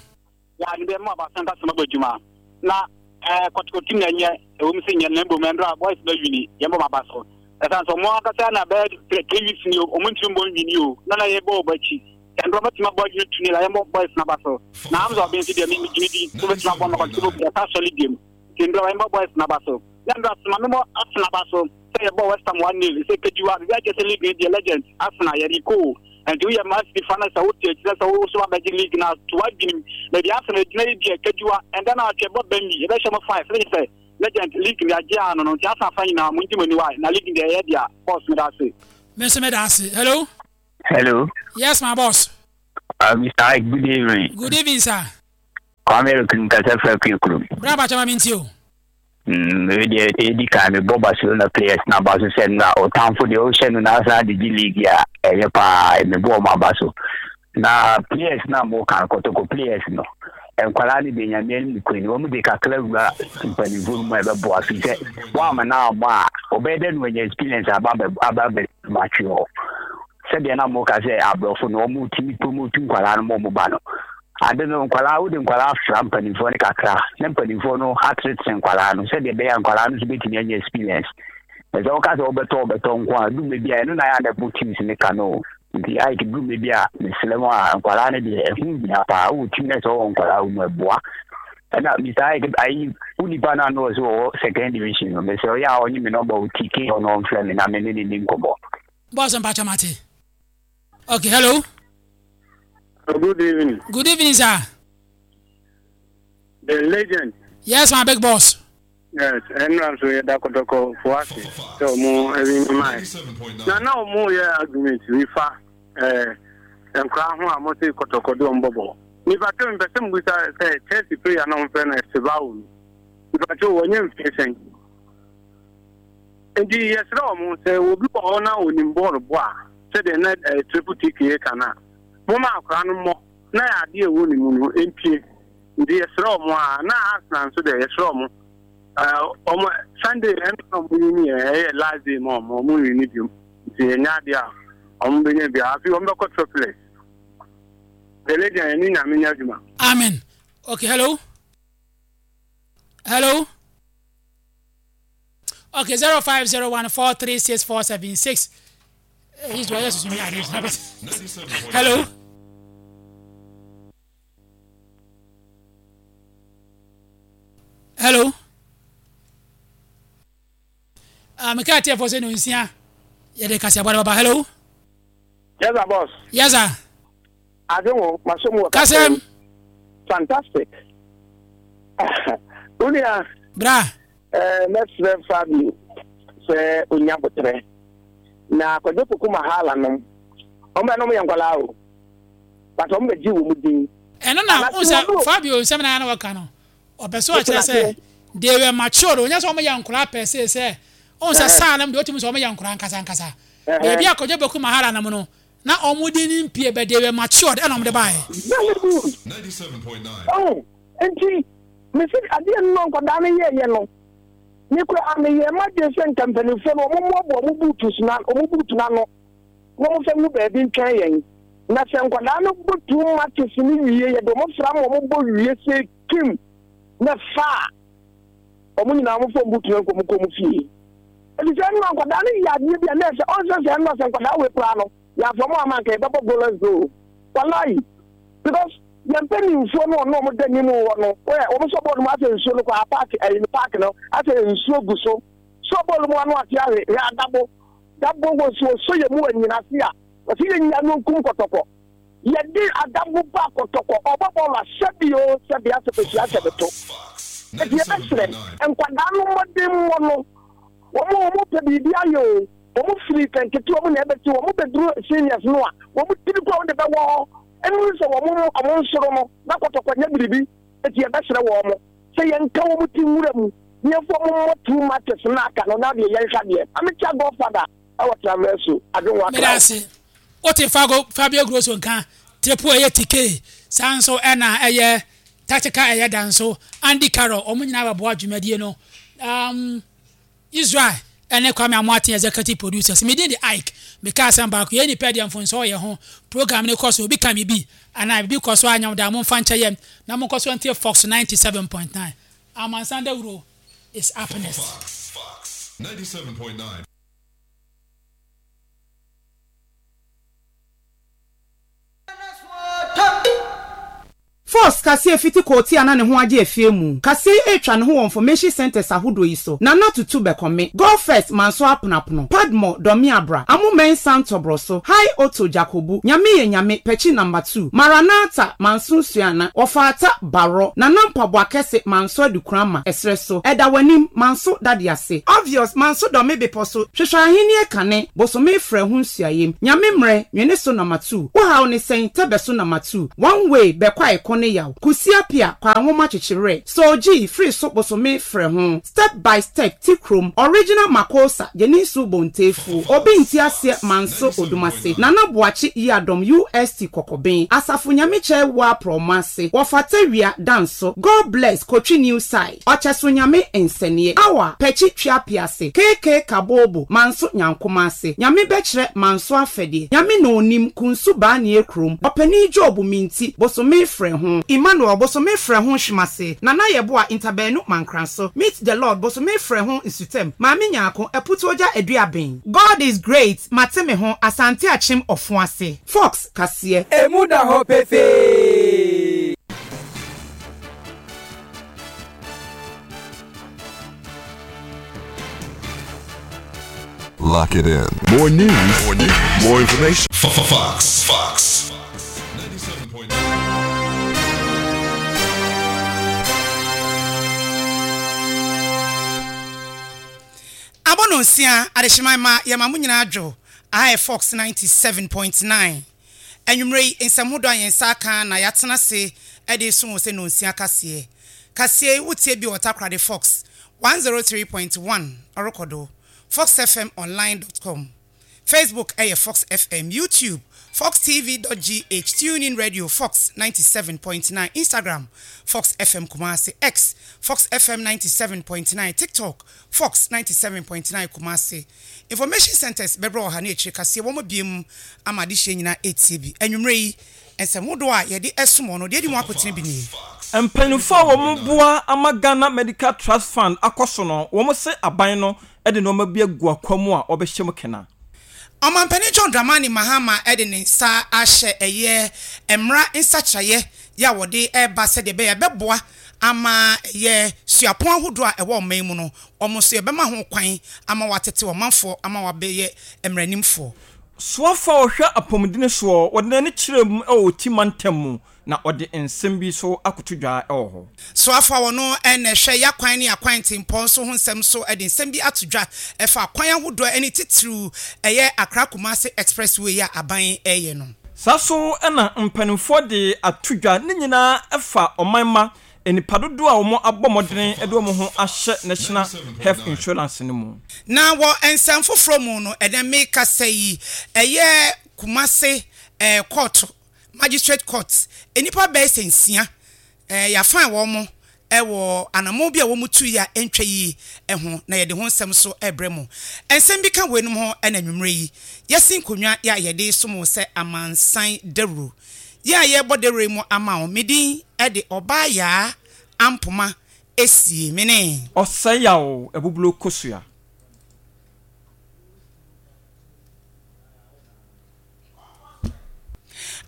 Ya ne bɛ mo aba santa sɛm abɔ adwuma na eh kɔtɔkɔ team na ɛnyɛ ɛwɔ mu sɛ nyɛ na mbom ɛndra boys na wini yɛn bɔ ma ba so ɛsan sɛ ɔmo ankasa na bɛyɛ 3 weeks ni ɔmo ntumi mbɔ nwini o na na yɛ bɔ ɔbɔ akyi Ɛnde ɔbɛtumi abɔ adwene tu ne la yɛmmɔ boys no aba so. Na Hamza Obeng nso deɛ me megye di sɛ ɔbɛtumi abɔ ma Kɔtɔkɔ bɔ yɛsan asɔre biom. Nti ndɛ yɛmmɔ boys no aba so. Na ndɛ ase ma memmɔ Arsenal aba so sɛ yɛbɔɔ West Ham 1-0 sɛ Kadiwa biribi akyerɛ sɛ league no deɛ legends Arsenal yɛde kɔ o. Nti woyɛ Man City fan na sɛ wote akyire sɛ wo so abɛgye league no a, to w'adwene mu. Baabi a Arsenal gyina yi deɛ, Kajuwa, ɛndɛ na atwe ɛbɔ Burnley, yɛbɛhyɛ mo five, ne kyerɛ sɛ Legend, league no yɛagye ano no, nti Arsenal fan nyinaa mongye mo ani wai, na league no deɛ ɛyɛ dea. Boss, meda ase. Me nso meda ase. Hello. Hello. Yes, my boss. Mr. Ike, good evening. Good evening, sir. Kwame Eric nkasa fira kue kurom. Bra bakyɛ ma me ntie o. Wei deɛ ɛdi kan mebɔ Barcelona players no aba so sɛ na ɔtamfo deɛ ɔhyɛ no na asan de gye league a ɛyɛ paa mebɔ ɔmo aba so. Na players no a moka no kɔtɔkɔ players no nkwadaa no deɛ nyame anim nokorɛ ni wɔn de kakra wura mpanimfoɔ no mu a ɛbɛboa firi sɛ wɔama no ammɔ a ɔbɛyɛ dɛ no wanya experience aba aba abɛmatwe hɔ. Sɛdeɛ na moka sɛ aborɔfo no wɔn tumi promote nkwadaa no ma wɔn ba no ade no nkwadaa wode nkwadaa fra mpanimfoɔ no kakra na mpanimfoɔ no atenetene nkwadaa no sɛdeɛ ɛbɛyɛ a nkwadaa no nso bɛtumi anya experience na sɛ woka sɛ wobɛtɔ wobɛtɔ nko a dume bi a ɛno na yɛ a na ɛbɔ teams no ka no nti ayɛ dume bi a mesrɛ mu a nkwadaa no deɛ ɛho hia paa wowɔ team no sɛ wɔwɔ nkwadaa wɔ mu ɛboa ɛna mr ayɛ ayi wo nipa no ano wɔ sɛ wɔwɔ second division no mesrɛ ɔyɛ a ɔnye me nɔmba wo tike ɔno ɔmfrɛ me na me ne ne ni nkɔmmɔ. Boss mpakyɛ mate. Okay, hello. Good evening. Good evening, sir. The legend. Yes, my big boss. Yes, ɛnura nso yɛ da kɔtɔkɔ fo ase sɛ ɔmo ɛwi ne maa yɛ. Na na ɔmo yɛ argument bi fa ɛɛ nkora ho a mo se kɔtɔkɔ de ɔmo bɔbɔ. Nipa tó mpɛ sɛ mo bisa sɛ Chelsea player na ɔmo fɛ no Estevao no. Nipa tó wɔnyɛ mfie sɛn. Nti yɛsrɛ wɔn sɛ obi wɔ hɔ na onim bɔɔl bɔ a, sɛdeɛ na eh, Triple TK reka no a, momma akwadaa no mmɔ na adeɛ a ɛwɔ ne mu no mpue. Nti yɛsrɛ wɔn a, na Arsenal nso deɛ yɛsrɛ wɔn. Eh, wɔn Sunday ɛno na wɔn wini yɛ, ɛyɛ last day ma wɔn, wɔn nwini biom. Nti ɛnyɛ adeɛ a wɔn bɛnya bi. Afei wɔn bɛkɔ triplets. The legend, ɛne nyame nyɛ adwuma. Amen. Okay, hello. Hello. Okay, 0501 436476. He's Hello. Hello. Ah, meka atiefo sɛ no nsia yɛde kaseɛbɔ no bɛba. Hello. Yes, sir, boss. Yes, sir. Adwenwo, maso mu wɔ kasɛm. Fantastic. Unia. Bra. Eh, mɛsrɛ Fabio sɛ onya botrɛ. Na Kwadwo Poku Mahala nom. Wɔn bɛ nom yɛ nkwadaa o. But wɔn bɛ gye wɔn din. Ɛno na n sɛ Fabio nsɛm na na wɔka no. Ɔpɛ sɛ ɔkyerɛ sɛ they were matured. Ɔnyɛ sɛ wɔn yɛ nkwadaa pɛ se sɛ ɔn sɛ saa nom deɛ ɔtumi sɛ wɔn yɛ nkwadaa nkasa nkasa. Baabi a Kwadwo Poku Mahala nom no na wɔn de ne mpie but they were matured ɛna wɔn de baeɛ. Very good. Oh, nti mese adeɛ no na nkwadaa no yɛɛyɛ no me koraa meyɛɛ m'adwene sɛ nka mpanimfoɔ no wɔn mmoaboa wɔn buutus na wɔn buutu no ano na wɔn fɛ ngu baabi ntwɛn yɛn na sɛ nkwadaa no bɔ two matches no wie yɛde wɔn fra ma wɔn bɔ wie sɛ kim na fa a wɔn nyinaa wɔn fɔ wɔn buutu no nkɔ wɔn kɔ wɔn fie efisɛ ɛno na nkwadaa no yɛ adeɛ bi a na ɛsɛ ɔnsɛ sɛ ɛno sɛ nkwadaa wei koraa no yɛafa wɔn ama nka yɛbɛbɔ goalless goal walayi because Yɛn mpanimfoɔ no ɔno ɔmo da anim wɔ no ɛ wɔn sɔ bɔɔl mu asɛ nsuo no kɔ a paaki ɛyi no paaki no asɛ nsuo gu so sɔ bɔɔl mu ano ate ahwe hwɛ adabo dabo wɔ so ɔsɔ yɛ mu wɔ nyina ase a ɔsɛ yɛ nya no nkum kɔtɔkɔ yɛde adabo ba kɔtɔkɔ ɔbɔ bɔɔl a sɛbi o sɛbi asɛ bɛhyia asɛ bɛto ɛti yɛbɛsrɛ nkwadaa no mmɔden mmɔ no wɔn wɔn pɛ biribi ayɛ o. Wɔn firi nketewa mu na ɛbɛte, wɔn bɛduru seniors no a, wɔn tiri kɔ wɔn de bɛwɔ hɔ. Ɛnuru sɛ wɔn wɔn nsoro no na kɔtɔkɔ nyɛ biribi, eti yɛbɛsrɛ wɔn sɛ yɛnka wɔn ti nwura mu na yɛmfa wɔn mmɔ two matches no aka no na deɛ yɛnhwɛ adeɛ. Ametia Godfather ɛwɔ Traverso, Adwenwa Meda Accra. ase. Wote Fago, Fabio Grosso nka, Triple ɛyɛ TK, saa nso ɛna ɛyɛ Tactical ɛyɛ da nso, Andy Carroll, wɔn nyinaa bɛboa dwumadie no. Um, Israel ne Kwame Amoateng Executive Producers. Me din de Ike. Meka asɛm baako, yɛn nnipa deɛ mfomsoɔ wɔ yɛn ho. Program no kɔ so, obi ka biribi anaa biribi kɔ so a anyɛ wo dɛ a, momfa nkyɛ yɛn na monkɔ so ntie Fox 97.9. Amansan Dawuro is up next. Fox 97.9. Force kaseɛ fiti kootia na ne ho agye afie mu. Kaseɛ yi retwa ne ho wɔ information centres ahodoɔ yi so, Nana Tutu Bɛkɔme, Go First Manso Aponapono, Padmore Dɔmeabra, Amo Mensah Ntɔbrɔso, High Otto Djakobu, Nyame yɛ Nyame, Pɛkyi Number 2, Maranatha Manso Suana, Wɔfaata Barɔ, Nana Mpaboa Kɛse Manso Adukurama, Ɛserɛ so, Ɛda W'anim, Manso Dade Ase, Obvious Manso Dɔme Bepɔ so, Hwehwɛ Ahennie Kane, Bosome Frɛ Ho Nsuayem, Nyame Mmerɛ, Nwene So Number 2, Wo Haw Ne Sɛn, Tɛbɛ So Number 2, One Way, Bɛkɔ A Ɛko Ne Yaw, Kusi Apia, Kwaa Nwoma Kyekye Werɛ, Soul G, Firi So Bosome Frɛ Ho, Step by Step, Ti Krom, Original Makosa, Gyeninsu Bontefuo, Obi Nti Aseɛ Manso Odumase, Nana Boakye Yiadom UST Kɔkɔben, Asafo Nyamekyɛ Woa Prɔmo Ase, Wɔfata Wia, Danso, God Bless, Kotwi New Side, Ɔkyɛso Nyame Nsɛneɛ, Awa, Pɛkyi Tweapease, KK Kabobo, Manso Nyankomase, Nyame Bɛkyerɛ Manso Afɛdeɛ, Nyame Na Onim, Kunsu Baanie Krom, Ɔpanin Job Minti, Bosome Frɛ Ho, Emmanuel, Bosome Frɛ Ho Hwemase, Nana Yeboah Ntabaanu Mankranso, Meet the Lord, Bosome Frɛ Ho Nsutam, Maame Nyarko, Aputuogya Aduaben. God is great, Mate Me Ho, Asante Akyem Ɔfoase. Fox kaseɛ. Emu da hɔ pefee. Lock it in. More news, more news, more information. Fox. Fox. 97.9. Abɔ no nsia, adehyeman ma yɛma mo nyinaa dwo. Aha yɛ Fox 97.9. Anwummerɛ yi, nsɛm hodoɔ a yɛn nsa aka na yɛatena ase de reso wo sɛ nnɔnsia kaseɛ. Kaseɛ yi, wotie bi wɔ Takoradi Fox 103.1 ɔrekɔ do, foxfmonline dot com, Facebook yɛ Fox FM, YouTube, foxtv dot gh, TuneIn Radio, Fox 97.9, Instagram, Fox FM Kumasi, X, Fox FM 97.9, TikTok, Fox 97.9 Kumasi. Information Centres bɛbrɛ wɔ ha ne akyire kaseɛ wɔn abue mu ama adehyeɛ nyinaa ɛretie bi. Anwummerɛ yi, nsɛm hodoɔ a yɛde som wɔn no, deɛ ɛdi mu akotene bi nie. Mpanyinfoɔ a wɔn boa ama Ghana Medical Trust Fund akɔ so no, wɔn se aban no de nnoɔma bi agu akwa mu a wɔbɛhyɛ mu kena. Ɔmanpanin John Dramani Mahama de ne nsa ahyɛ ɛyɛ mmra nsakyeraeɛ yɛ a wɔde reba sɛdeɛ ɛbɛyɛ a ɛbɛboa ama ɛyɛ suapɔn ahodoɔ a ɛwɔ ɔman mu no, wɔn nso yɛbɛma ho kwan ama wɔatete ɔmanfoɔ ama wɔabɛyɛ mmaranimfoɔ. Soafoɔ a ɔhwɛ apɔmudene soɔ, wɔde n'ani kyerɛɛ mu wɔ Oti mantam mu na ɔde nsɛm bi nso akoto dwa wɔ hɔ. Soafoɔ a ɔno na ɛhwɛ y'akwan ne akwan ntempɔn nso ho nsɛm nso de nsɛm bi ato dwa ɛfa akwan ahodoɔ ne titiriw ɛyɛ Accra-Kumasi Expressway a aban reyɛ no. Saa nso na mpanimfoɔ de ato dwa, ne nyinaa fa ɔman mma nnipa dodoɔ a wɔn abɔ mmɔdene de wɔn ho ahyɛ National Health Insurance no mu. Na wɔ nsɛm foforɔ mu no, ɛnɛ mekasa yi, ɛyɛ Kumasi kɔɔto, Magistrate Court, nnipa bɛyɛ sɛ nsia Yɛafan wɔn wɔ anammɔn bi a wɔtuiɛ a ɛntwa yie ho, na yɛde ho nsɛm nso rebrɛ mo. Nsɛm bi ka weinom ho na anwummerɛ yi, yɛasi nkonnwa yɛ a yɛde resom wo sɛ amansan dawuro. Yɛn a yɛrebɔ dawuro yi mu ama wo, me din de Ɔbaa Yaa Ampoma Esie, me ne. Ɔsɛe Yaw Abubulo Kosua.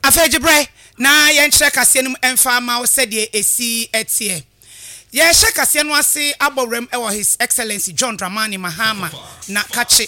Afei gye berɛ na yɛnkyerɛ kaseɛ no mu mfa mma wo sɛdeɛ ɛsi teɛ. Yɛrehyɛ kaseɛ no ase abɔ wuram wɔ His Excellency John Dramani Mahama na kakye.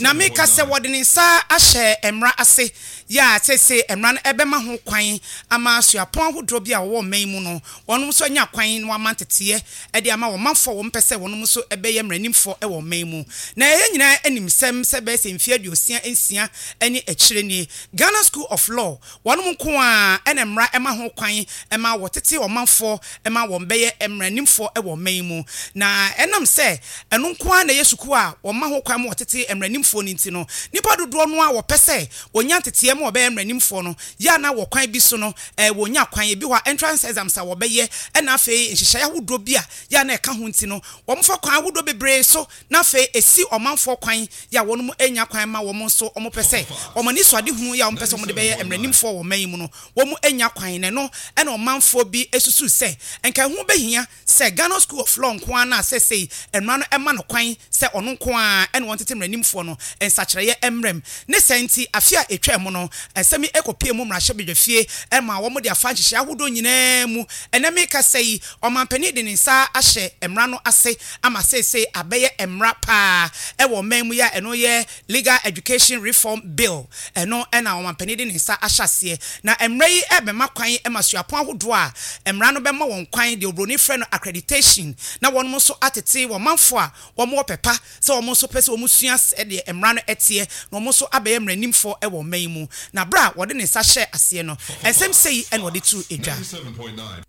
Na meka sɛ wɔde ne nsa ahyɛ mmara ase yɛ a seesei mmara no ɛbɛma ho kwan ama suapɔn ahodoɔ bi a wɔwɔ ɔman yi mu no wɔnom nso anya kwan na wɔama nteteɛ de ama wɔn manfoɔ a wɔn pɛ sɛ wɔnom nso bɛyɛ mmaranimfoɔ wɔ ɔman yi mu. Na yɛn nyinaa nim sɛm sɛ bɛyɛ sɛ mfeɛ 66 ne akyire nie, Ghana School of Law, wɔnom nko ara na mmara ma ho kwan ma wɔtete ɔmanfoɔ ma wɔn bɛyɛ mmaranimfoɔ wɔ ɔman yi mu. Na ɛnam sɛ ɛno nko ara na ɛyɛ sukuu a wɔma ho kwan ma wɔtete mmaranimfoɔ no nti no, nnipa dodoɔ no ara a wɔpɛ sɛ wɔnya nteteɛ ma wɔbɛyɛ mmaranimfoɔ no yɛ a na wɔ kwan bi so no wɔnnya kwan. Ebi wɔ hɔ a, entrance exams a wɔbɛyɛ na afei nhyehyɛe ahodoɔ bi a yɛ a na ɛka ho nti no, wɔfa kwan ahodoɔ bebree so na afei ɛsi ɔmanfoɔ kwan yɛ a wɔn nnya kwan ma wɔn nso wɔpɛ sɛ wɔn anisoadehunu yɛ a wɔpɛ sɛ wɔde bɛyɛ mmaranimfoɔ wɔ ɔman yi mu no, wɔn nnya kwan. Na ɛno na ɔmanfoɔ bi susu sɛ nka ɛho bɛhia sɛ Ghana School of Law nko ara no a seesei mmara no ma no kwan sɛ ɔno nko ara na ɔntete mmaranimfoɔ no nsakyeraeɛ mmra mu. Ne saa nti, afe a ɛtwaa mu no, Nsɛm yi kɔpuee mu mmarahyɛbadwafie ma wɔde afa nhyehyɛe ahodoɔ nyinaa mu. Ɛnnɛ merekasa yi, ɔmanpanin de ne nsa ahyɛ mmara no ase ama seesei abɛyɛ mmara paa wɔ ɔman mu yi a ɛno yɛ Legal Education Reform Bill. Ɛno na ɔmanpanin de ne nsa ahyɛ aseɛ. Na mmara yi rebɛma kwan ma suapɔn ahodoɔ a mmara no bɛma wɔn kwan, deɛ oburoni frɛ no accreditation, na wɔnom nso atete wɔn manfoɔ a wɔwɔ pɛ pa sɛ wɔn nso pɛ sɛ wɔsua sɛdeɛ mmara no teɛ na wɔn nso abɛyɛ mmaranimfoɔ wɔ ɔman yi mu. Na berɛ a wɔde ne nsa hyɛɛ aseɛ no, nsɛm sei na wɔde too dwa.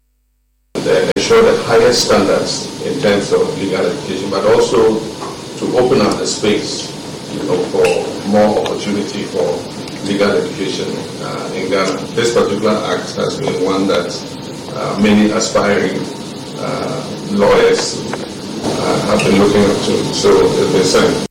And ensure the highest standards in terms of legal education, but also to open up the space, you know, for more opportunity for legal education uh, in Ghana. This particular act has been one that uh, many aspiring uh, lawyers uh, have been looking up to, so it's been signed.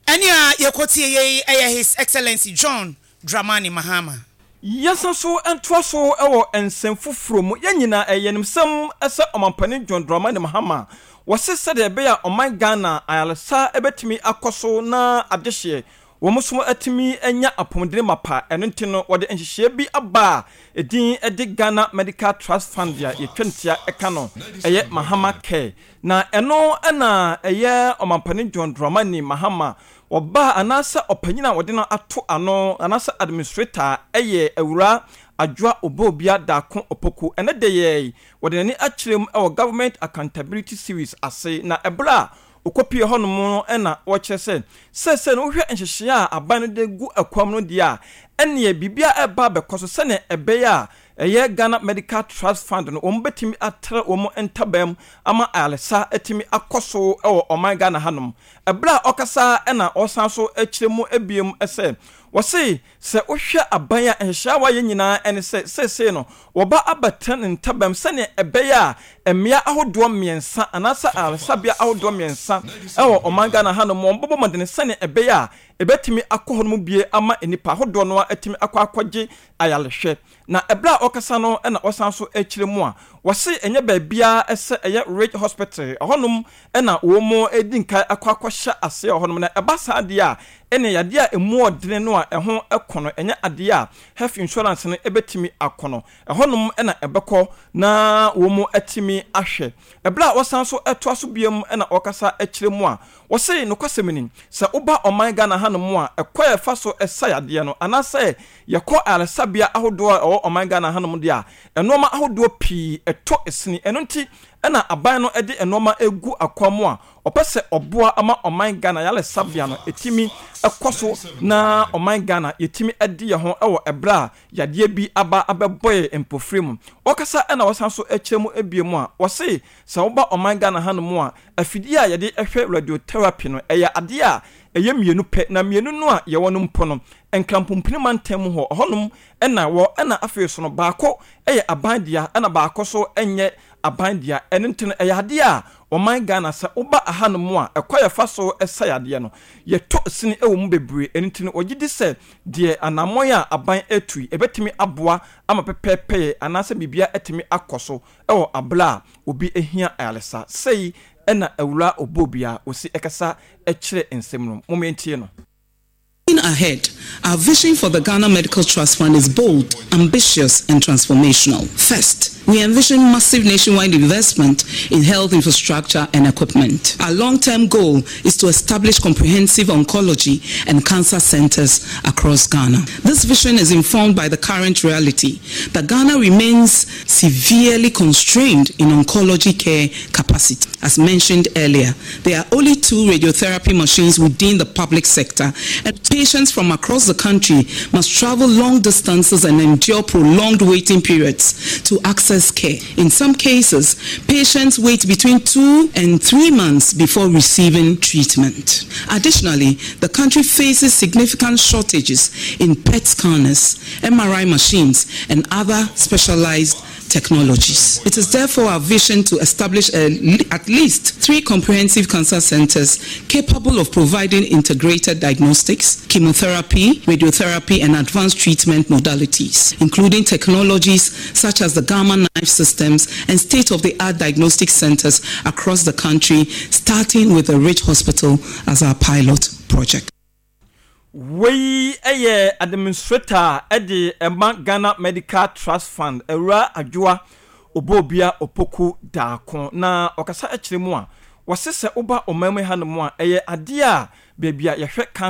Ɛnne a yɛkɔtie yei yɛ His Excellency John Dramani Mahama. Yɛnsan so ntoa so wɔ nsɛm foforɔ mu. Yɛn nyinaa ɛyɛ yɛn nsam sɛ Ɔmampanin John Dramani Mahama wɔse sɛdeɛ ɛbɛyɛ a ɔman Ghana ayaresa bɛtumi akɔ so na adehyeɛ wɔn nso atumi anya apɔmuden mapa. Ɛno nti no wɔde nhyehyɛeɛ bi aba a edin de Ghana Medical Trust Fund a yɛtwa no tia ka no ɛyɛ Mahama Care. Na ɛno na ɛyɛ Ɔmampanin John Dramani Mahama Ɔbaa anaasɛ ɔpanyin a wɔde no ato ano anaasɛ administrator yɛ Awuraa Adwoa Oboobia Darko Opoku. Ɛnnɛ da yi ara yi, wɔde n'ani akyerɛ mu wɔ Government Accountability Series ase na ɛberɛ a ɔkɔpuee hɔnom no na ɔrekyerɛ sɛ seesei no wohwɛ nhyehyɛeɛ a aban no de gu akwam no deɛ a, ɛnneɛ biribiara reba abɛkɔ so sɛdeɛ ɛbɛyɛ a ɛyɛ Ghana Medical Trust Fund no wɔn bɛtumi atrɛ wɔn ntaban mu ama ayaresa atumi akɔ so wɔ ɔman Ghana hanom. Ɛberɛ a ɔkasa na ɔsan so kyerɛ mu biom sɛ, wɔse sɛ wohwɛ aban a nhyehyɛe a wɔayɛ nyinaa ne sɛ seesei no wɔba abɛtena ne ntabam sɛdeɛ ɛbɛyɛ a mmea ahodoɔ mmiɛnsa anaasɛ ayaresabea ahodoɔ mmiɛnsa wɔ ɔman Ghana hanom wɔbɛbɔ mmɔden sɛdeɛ ɛbɛyɛ a ɛbɛtumi akɔ hɔnom bie ama nnipa ahodoɔ no ara atumi akɔ akɔgye ayarehwɛ. Na ɛberɛ a ɔrekasa no na ɔsan nso rekyerɛ mu a, wɔse ɛnyɛ baabiara sɛ ɛyɛ Ridge Hospital, ɛhɔnom na wɔredi nkan akɔ akɔhyɛ aseɛ wɔ hɔnom. Na ɛba saa deɛ a, ɛnneɛ yadeɛ a ɛmu ɔdene no a ɛho kɔ no, ɛnyɛ adeɛ a health insurance no bɛtumi akɔ no, ɛhɔnom na ɛbɛkɔ na wɔatumi ahwɛ. Ɛberɛ a ɔsan nso toa so bio na ɔrekasa kyerɛ mu a, ɔse nokwasɛm ni, sɛ woba ɔman Ghana hanom a, ɛkwan a yɛfa so sa yadeɛ no, anaasɛ yɛkɔ ayaresabea ahodoɔ a ɛwɔ ɔman Ghana hanom deɛ a, nnoɔma ahodoɔ pii tɔ sini. Ɛno nti na aban no de nnoɔma regu akwan mu a ɔpɛ sɛ ɔboa ma ɔman Ghana ayaresabea no tumi kɔ so na ɔman Ghana yɛtumi de yɛn ho wɔ ɛberɛ a yadeɛ bi aba abɛbɔ yɛn mpofiri mu. Ɔkasa na ɔsan so kyerɛ mu bio mu a, ɔse sɛ woba ɔman Ghana hanom a, afidie a yɛde hwɛ radiotherapy no, ɛyɛ adeɛ a ɛyɛ mmienu pɛ, na mmienu no a yɛwɔ no mpo no, Nkranpompini mantam mu hɔ, ɛhɔnom na ɛwɔ, ɛna afei nso no, baako yɛ aban dea, ɛna baako nso nyɛ aban dea. Ɛno nti no, ɛyɛ adeɛ a ɔman Ghana, sɛ woba ahanom a, ɛkwan a yɛfa so sa yadeɛ no, yɛtɔ sini wɔ mu bebree. Ɛno nti no, wɔgye di sɛ deɛ anammɔn a aban retu yi, ɛbɛtumi aboa ama pɛpɛɛpɛyɛ anaasɛ biribiara atumi akɔ so wɔ aberɛ a obi hia ayaresa. Sei na Awuraa Obuobia ɔsi kasa kyerɛ nsɛm no. Mom yɛntie no. Looking ahead, our vision for the Ghana Medical Trust Fund is bold, ambitious, and transformational. First, we envision massive nationwide investment in health infrastructure and equipment. Our long-term goal is to establish comprehensive oncology and cancer centers across Ghana. This vision is informed by the current reality that Ghana remains severely constrained in oncology care capacity. As mentioned earlier, there are only two radiotherapy machines within the public sector, and patients from across the country must travel long distances and endure prolonged waiting periods to access care. In some cases, patients wait between two and three months before receiving treatment. Additionally, the country faces significant shortages in PET scanners, MRI machines, and other specialized technologies. It is therefore our vision to establish a, at least three comprehensive cancer centers capable of providing integrated diagnostics, chemotherapy, radiotherapy, and advanced treatment modalities, including technologies such as the Gamma Knife systems and state-of-the-art diagnostic centers across the country, starting with the Ridge Hospital as our pilot project. Wei yɛ administrator de ma Ghana Medical Trust Fund, Awuraa Adwoa Oboobia Opoku Darko. Na ɔkasa kyerɛ mu a, wɔse sɛ woba ɔman mu hanom a, ɛyɛ adeɛ a baabi a yɛhwɛ cancer.